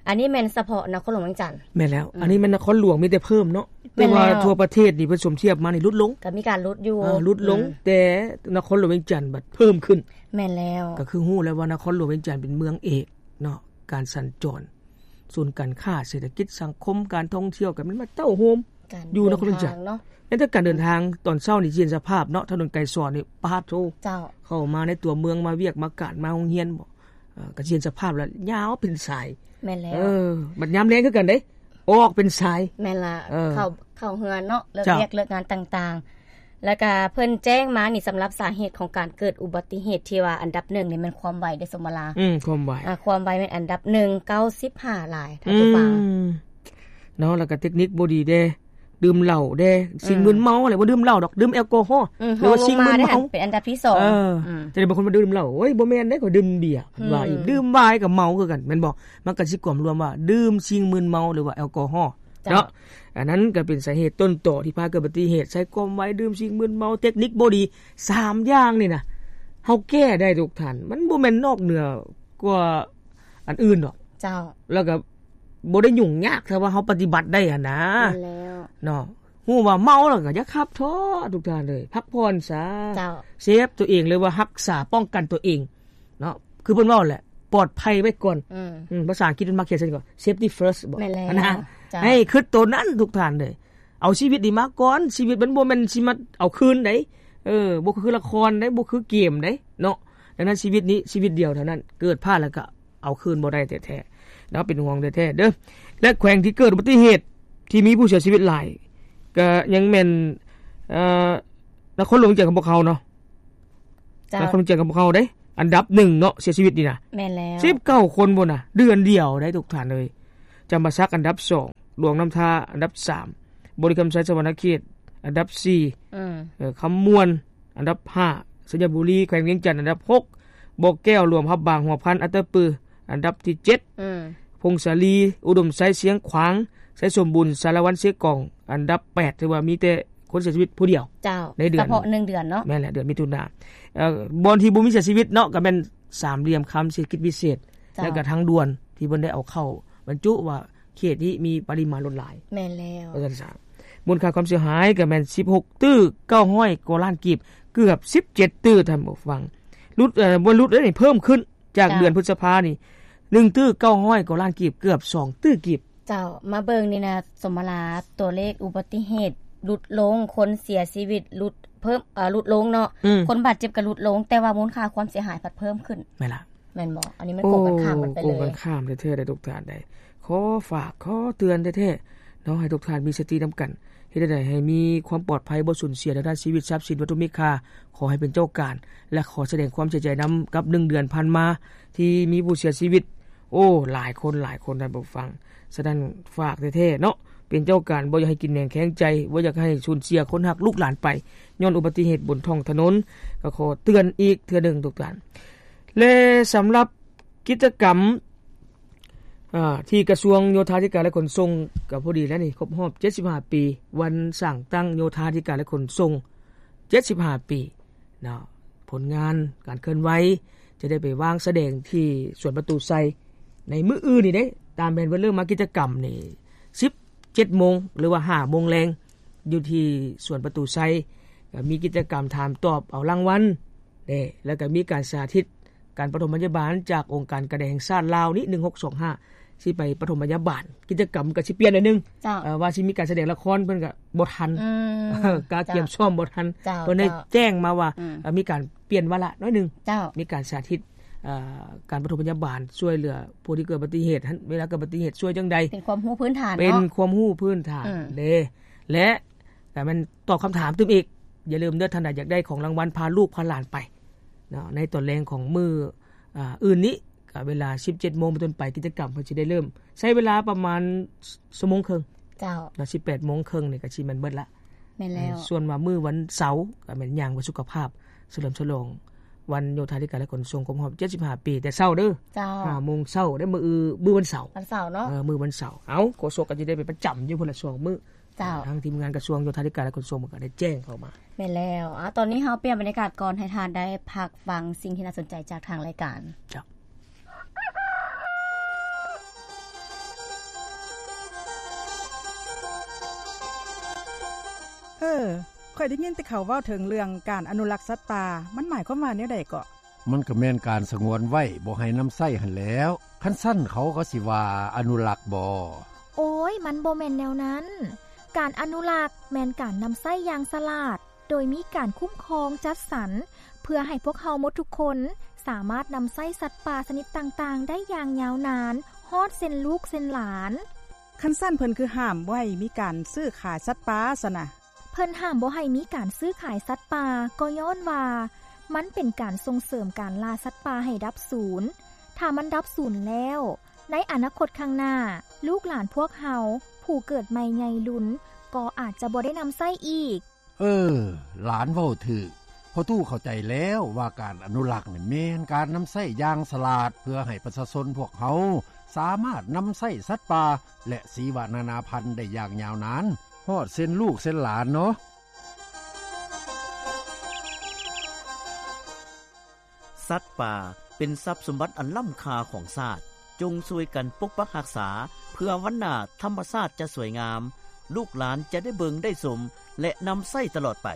ອັນນີ້ແມ່ນສະເພາະນະຄອນຫຼວງວຽງຈັນ. ແມ່ນແລ້ວ. ອືມ. ອັນນີ້ແມ່ນນະຄອນຫຼວງມີແຕ່ເພີ່ມເນາະ. ແມ່ນແລ້ວ. ແຕ່ວ່າທົ່ວປະເທດນີ້ເພິ່ນສົມທຽບມານີ້ຫຼຸດລົງ. ກໍມີການຫຼຸດຢູ່. ເອີ ຫຼຸດລົງ. ອືມ. ແຕ່ນະຄອນຫຼວງວຽງຈັນບັດເພີ່ມຂຶ້ນ. ແມ່ນແລ້ວ. ກໍຄືຮູ້ແລ້ວວ່ານະຄອນຫຼວງວຽງຈັນເປັນເມືອງເອກເນາະ, ການສັນຈອນ, ສູນການຄ້າ, ເສດຖະກິດ, ສັງຄົມ, ການທ່ອງທ່ຽວ ກໍແມ່ນມາເຕົ້າໂຮມຢູ່ນະຄອນຫຼວງວຽງຈັນ. ການເດີນທາງເນາະ. ແມ່ນແຕ່ການເດີນທາງຕອນເຊົ້ານີ້ຊິເຫັນສະພາບເນາະ, ຖະໜົນໄກສອນນີ້ ປາດໂທ້. ເຈົ້າ. ເຂົ້າມາໃນຕົວເມືອງ, ມາວຽກມາການ, ມາໂຮງຮຽນບໍ ເອີ ກໍຊິເຫັນສະພາບລະຍາວເປັນສາຍ. ແມ່ນແລ້ວ. ເອີ ບັດຍາມແລງຄືກັນເດ້, ອອກເປັນສາຍ. ແມ່ນລະ. ເອີ ເຂົ້າ ເຂົ້າເຮືອນເນາະ, ເລີກ ເຈົ້າ ວຽກເລີກງານຕ່າງໆ. ແລ້ວກະເພິ່ນແຈ້ງມານີ້ ສຳລັບສາເຫດຂອງການເກີດອຸບັດຕິເຫດ ທີ່ວ່າອັນດັບໜຶ່ງນີ້ແມ່ນຄວາມໄວເດ້ ສົມມະລາ. ອືມ ຄວາມໄວ. ອາ ຄວາມໄວແມ່ນອັນດັບໜຶ່ງ ເກົ້າສິບຫ້າລາຍ ທ່ານຜູ້ຟັງ. ອືມ ເນາະ. ແລ້ວກະເຕັກນິກບໍ່ດີເດ້, ດື່ມເຫຼົ້າເດ້, ສິ່ງ ອືມ ມຶນເມົາ ແຫຼະ, ບໍ່ດື່ມເຫຼົ້າດອກ, ດື່ມແອລກໍຮໍ. ອືມ ຫຼືວ່າສິ່ງມຶນເມົາ ເຮົາລົງມາໄດ້ ເປັນອັນດັບທີສອງ. ເອີ ອືມ ຈະໄດ້ບາງຄົນວ່າດື່ມເຫຼົ້າ, ໂອ້ຍ ບໍ່ແມ່ນເດ້, ຂ້ອຍດື່ມເບຍ ອືມ ວ່າອີກ, ດື່ມໄວນ໌ກໍເມົາຄືກັນ ແມ່ນບໍ່? ມັນກໍຊິກວມລວມວ່າ ດື່ມສິ່ງມຶນເມົາ ຫຼືວ່າແອລກໍຮໍ. ເຈົ້າ. ເນາະ. ອັນນັ້ນກໍເປັນສາເຫດຕົ້ນຕໍທີ່ພາເກີດອຸບັດຕິເຫດ, ໃຊ້ຄວາມໄວ, ດື່ມສິ່ງມຶນເມົາ, ເຕັກນິກບໍ່ດີ, ສາມຢ່າງນີ້ນະ ເຮົາແກ້ໄດ້ທຸກທ່ານ, ມັນບໍ່ແມ່ນນອກເໜືອກວ່າອັນອື່ນດອກ. ເຈົ້າ. ແລ້ວກໍບໍ່ໄດ້ຫຍຸ້ງຍາກ ຖ້າວ່າເຮົາປະຕິບັດໄດ້ຫັ້ນນະ. ແມ່ນແລ້ວ. ເນາະ. ຮູ້ວ່າເມົາແລ້ວກໍຢ່າຂັບເທາະທຸກທ່ານເອີຍ, ພັກຜ່ອນຊະ. ເຈົ້າ. ເຊຟຕົວເອງ ຫຼືວ່າຮັກສາປ້ອງກັນຕົວເອງ. ເນາະ, ຄືເພິ່ນເວົ້າແຫຼະ ປອດໄພໄວ້ກ່ອນ. ອືມ ອືມ ພາສາອັງກິດເພິ່ນມັກຂຽນຊັ້ນກໍ safety first ບໍ? ແມ່ນແລ້ວນະ. ເຈົ້າ. ໃຫ້ຄິດໂຕນັ້ນທຸກທ່ານເດີ, ເອົາຊີວິດນີ້ມາກ່ອນ, ຊີວິດມັນບໍ່ແມ່ນຊິມາເອົາຄືນໃດ. ເອີ ບໍ່ຄືລະຄອນໃດ, ບໍ່ຄືເກມໃດເນາະ. ດັ່ງນັ້ນຊີວິດນີ້ຊີວິດດຽວເທົ່ານັ້ນ, ເກີດພາດແລ້ວກໍເອົາຄືນບໍ່ໄດ້ແທ້ໆເນາະ, ເປັນຫ່ວງແທ້ໆເດີ. ແລະ ແຂວງທີ່ເກີດອຸບັດຕິເຫດທີ່ມີຜູ້ເສຍຊີວິດຫຼາຍ ກໍຍັງແມ່ນ ເອີ ນະຄອນຫຼວງວຽງຈັນຂອງພວກເຮົາເນາະ. ເຈົ້າ. ນະຄອນຫຼວງວຽງຈັນຂອງພວກເຮົາເດ້ ອັນດັບໜຶ່ງເນາະ, ເສຍຊີວິດນີ້ນະ. ແມ່ນແລ້ວ. ສິບເກົ້າຄົນພຸ້ນນະ, ເດືອນດຽວໄດ໋ທຸກທ່ານເອີຍ. ຈຳປາສັກອັນດັບສອງ, ຫຼວງນ້ຳທາອັນດັບສາມ, ບໍລິຄຳໄຊສະຫວັນນະເຂດອັນດັບສີ່, ອືມ ເອີ ຄຳມ່ວນອັນດັບຫ້າ, ໄຊຍະບູລີ ແຂວງວຽງຈັນ ອັນດັບຫົກ, ບໍ່ແກ້ວ ຫຼວງພະບາງ ຫົວພັນ ອັດຕະປື ອັນດັບທີເຈັດ, ອືມ ຜົ້ງສາລີ ອຸດົມໄຊ ຊຽງຂວາງ, ໄຊສົມບູນ ສາລະວັນ ເຊກອງ ອັນດັບແປດ ຖືວ່າມີແຕ່ຄົນເສຍຊີວິດຜູ້ດຽວ ເຈົ້າ ໃນເດືອນ ສະເພາະໜຶ່ງເດືອນເນາະ. ແມ່ນແຫຼະ ເດືອນມິຖຸນາ. ເອີ ບ່ອນທີ່ບໍ່ມີເສຍຊີວິດເນາະ ກໍແມ່ນສາມຫຼ່ຽມຄຳເສດຖະກິດພິເສດ ເຈົ້າ ແລ້ວກໍທາງດ່ວນ ທີ່ເພິ່ນໄດ້ເອົາເຂົ້າບັນຈຸວ່າ ເຂດນີ້ມີປະລິມານລົດຫຼາຍ. ແມ່ນແລ້ວ ວ່າຊັ້ນຊະ. ມູນຄ່າຄວາມເສຍຫາຍກໍແມ່ນສິບຫົກຕື້ເກົ້າຮ້ອຍກວ່າລ້ານກີບ, ເກືອບສິບເຈັດຕື້ ທ່ານຜູ້ຟັງ. ຫຼຸດ ເອີ ບໍ່ຫຼຸດເດ້ນີ້ ເພີ່ມຂຶ້ນຈາກ ເຈົ້າ ເດືອນພຶດສະພານີ້ ໜຶ່ງຕື້ເກົ້າຮ້ອຍກວ່າລ້ານກີບ, ເກືອບສອງຕື້ກີບ. ເຈົ້າ ມາເບິ່ງນີ້ນະ ສົມມະລາ ຕົວເລກອຸບັດຕິເຫດຫຼຸດລົງ, ຄົນເສຍຊີວິດຫຼຸດເພີ່ມ ເອີ ຫຼຸດລົງເນາະ, ອືມ ຄົນບາດເຈັບກໍຫຼຸດລົງ, ແຕ່ວ່າມູນຄ່າຄວາມເສຍຫາຍພັດເພີ່ມຂຶ້ນ. ແມ່ນລະ. ແມ່ນບໍ່? ອັນນີ້ມັນກົງກັນຂ້າມກັນໄປເລີຍ. ໂອ້ ກົງກັນຂ້າມແທ້ໆ ເດ້ທຸກທ່ານເດ້. ຂໍຝາກ ຂໍເຕືອນແທ້ໆເນາະ ໃຫ້ທຸກທ່ານມີສະຕິນຳກັນ, ເຮັດແນວໃດໃຫ້ມີຄວາມປອດໄພ, ບໍ່ສູນເສຍທາງດ້ານຊີວິດ, ຊັບສິນ, ວັດຖຸມີຄ່າ, ຂໍໃຫ້ເປັນເຈົ້າການ ແລະ ຂໍສະແດງຄວາມເສຍໃຈນຳກັບໜຶ່ງເດືອນຜ່ານມາ ທີ່ມີຜູ້ເສຍຊີວິດ. ໂອ້ ຫຼາຍຄົນ ຫຼາຍຄົນ ທ່ານຜູ້ຟັງ. ສະນັ້ນ ຝາກແທ້ໆເນາະ, ເປັນເຈົ້າການ ບໍ່ຢາກໃຫ້ກິນແໜງແຂງໃຈ, ບໍ່ຢາກໃຫ້ສູນເສຍຄົນຮັກລູກຫຼານໄປ ຍ້ອນອຸບັດຕິເຫດບົນທ້ອງຖະໜົນ. ກໍຂໍເຕືອນອີກເທື່ອໜຶ່ງທຸກທ່ານ. ແລະ ສຳລັບກິດຈະກຳ ອາ ທີ່ກະຊວງໂຍທາທິການ ແລະ ຂົນສົ່ງ ກໍພໍດີແລ້ວນີ້ ຄົບຮອບເຈັດສິບຫ້າປີ ວັນສ້າງຕັ້ງໂຍທາທິການ ແລະ ຂົນສົ່ງ ເຈັດສິບຫ້າປີເນາະ. ຜົນງານການເຄື່ອນໄຫວຈະໄດ້ໄປວາງສະແດງທີ່ສວນປະຕູໄຊໃນມື້ອື່ນນີ້ເດ້. ຕາມແຜນເພິ່ນເລີ່ມມາກິດຈະກຳນີ້ ສິບເຈັດໂມງ ຫຼືວ່າຫ້າໂມງແລງ ຢູ່ທີ່ສວນປະຕູໄຊ. ກໍມີກິດຈະກຳຖາມຕອບເອົາລາງວັນເດ້ ແລ້ວກໍມີການສາທິດ ການປະຖົມພະຍາບານຈາກອົງການການແດງແຫ່ງຊາດລາວນີ້ ໜຶ່ງຫົກສອງຫ້າ ຊິໄປປະຖົມພະຍາບານ. ກິດຈະກຳກໍຊິປ່ຽນໜ້ອຍໜຶ່ງ ເຈົ້າ ເອີ ວ່າຊິມີການສະແດງລະຄອນ ເພິ່ນກໍບໍ່ທັນ ອືມ ກະກຽມ ເຈົ້າ ຊ້ອມບໍ່ທັນ. ເຈົ້າ ເພິ່ນໄດ້ ເຈົ້າ ແຈ້ງມາວ່າ ອືມ ເອີ ມີການປ່ຽນວາລະໜ້ອຍໜຶ່ງ. ເຈົ້າ ມີການສາທິດ ເອີ ການປະຖົມພະຍາບານ ຊ່ວຍເຫຼືອຜູ້ທີ່ເກີດອຸບັດຕິເຫດຫັ້ນ ເວລາເກີດອຸບັດຕິເຫດຊ່ວຍຈັ່ງໃດ. ເປັນຄວາມຮູ້ພື້ນຖານເນາະ ເປັນຄວາມຮູ້ພື້ນຖານ ອືມ ເດ້ ແລະ ກໍແມ່ນຕອບຄຳຖາມຕື່ມອີກ. ຢ່າລືມເດີ ທ່ານໃດຢາກໄດ້ຂອງລາງວັນ ພາລູກພາຫຼານໄປເນາະ ໃນຕອນແລງຂອງມື້ ອາ ອື່ນນີ້ ກໍເວລາສິບເຈັດໂມງເປັນຕົ້ນໄປ ກິດຈະກຳເພິ່ນຊິໄດ້ເລີ່ມ ໃຊ້ເວລາປະມານຊົ່ວໂມງເຄິ່ງ. ເຈົ້າ ເນາະ ສິບແປດໂມງເຄິ່ງນີ້ກໍຊິແມ່ນເບິດລະ. ແມ່ນແລ້ວ. ເອີ ສ່ວນວ່າມື້ວັນເສົາ ກໍແມ່ນຍ່າງເພື່ອສຸຂະພາບ ສະເຫຼີມສະຫຼອງວັນໂຍທາທິການ ແລະ ຂົນສົ່ງ ຄົບຮອບເຈັດສິບຫ້າປີ ແຕ່ເຊົ້າເດີ. ເຈົ້າ ຫ້າໂມງເຊົ້າເດ້ ມື້ ມື້ວັນເສົາ. ວັນເສົາເນາະ. ເອີ ມື້ວັນເສົາ. ເອົ້າ ໂຄສົກກໍຊິໄດ້ໄປປະຈຳຢູ່ພຸ້ນລະສອງມື້. ເຈົ້າ ທາງທີມງານກະຊວງໂຍທາທິການ ແລະ ຂົນສົ່ງ ເພິ່ນກໍໄດ້ແຈ້ງເຂົ້າມາ. ແມ່ນແລ້ວ. ອາ ຕອນນີ້ເຮົາປ່ຽນບັນຍາກາດກ່ອນ ໃຫ້ທ່ານໄດ້ພັກຟັງສິ່ງທີ່ໜ້າສົນໃຈຈາກທາງລາຍການ. ເຈົ້າ. ເອີ ຂ້ອຍໄດ້ຍິນແຕ່ເຂົາເວົ້າເຖິງເລື່ອງການອະນຸລັກສັດປ່າ ມັນໝາຍຄວາມວ່າແນວໃດເກາະ? ມັນກໍແມ່ນການສະຫງວນໄວ້ ບໍ່ໃຫ້ນຳໃຊ້ຫັ້ນແຫຼ້ວ. ຄັນຊັ້ນເຂົາກໍຊິວ່າອະນຸລັກບໍ? ໂອ້ຍ ມັນບໍ່ແມ່ນແນວນັ້ນ. ການອະນຸລັກແມ່ນການນຳໃຊ້ຢ່າງສະຫຼາດ ໂດຍມີການຄຸ້ມຄອງຈັດສັນ ເພື່ອໃຫ້ພວກເຮົາໝົດທຸກຄົນສາມາດນຳໃຊ້ສັດປ່າຊະນິດຕ່າງໆໄດ້ຢ່າງຍາວນານ ຮອດເຊັ່ນລູກເຊັ່ນຫຼານ. ຄັນຊັ້ນເພິ່ນຄືຫ້າມບໍ່ໃຫ້ມີການຊື້ຂາຍສັດປ່າຊັ້ນນະ? ເພິ່ນຫ້າມບໍ່ໃຫ້ມີການຊື້ຂາຍສັດປ່າ ກໍຍ້ອນວ່າມັນເປັນການສົ່ງເສີມການລ່າສັດປ່າໃຫ້ດັບສູນ. ຖ້າມັນດັບສູນແລ້ວ, ໃນອະນາຄົດຂ້າງໜ້າ, ລູກຫຼານພວກເຮົາ, ຜູ້ເກີດໃໝ່ໃຫຍ່ລຸນ ກໍອາດຈະບໍ່ໄດ້ນຳໃຊ້ອີກ. ເອີ, ຫຼານເວົ້າຖືກ. ພໍ່ຕູ້ເຂົ້າໃຈແລ້ວວ່າການອະນຸລັກນີ້ແມ່ນການນຳໃຊ້ຢ່າງສະຫຼາດ ເພື່ອໃຫ້ປະຊາຊົນພວກເຮົາສາມາດນຳໃຊ້ສັດປ່າ ແລະ ຊີວະນານາພັນໄດ້ຢ່າງຍາວນານ ຮອດເຊັ່ນລູກເຊັ່ນຫຼານເນາະ. ສັດປ່າເປັນຊັບສົມບັດອັນລ້ຳຄ່າຂອງຊາດ. ຈົ່ງຊ່ວຍກັນປົກປັກຮັກສາ ເພື່ອວັນໜ້າທຳມະຊາດຈະສວຍງາມ, ລູກຫຼານຈະໄດ້ເບິ່ງໄດ້ຊົມ ແລະ ນຳໃຊ້ຕະຫຼອດໄປ.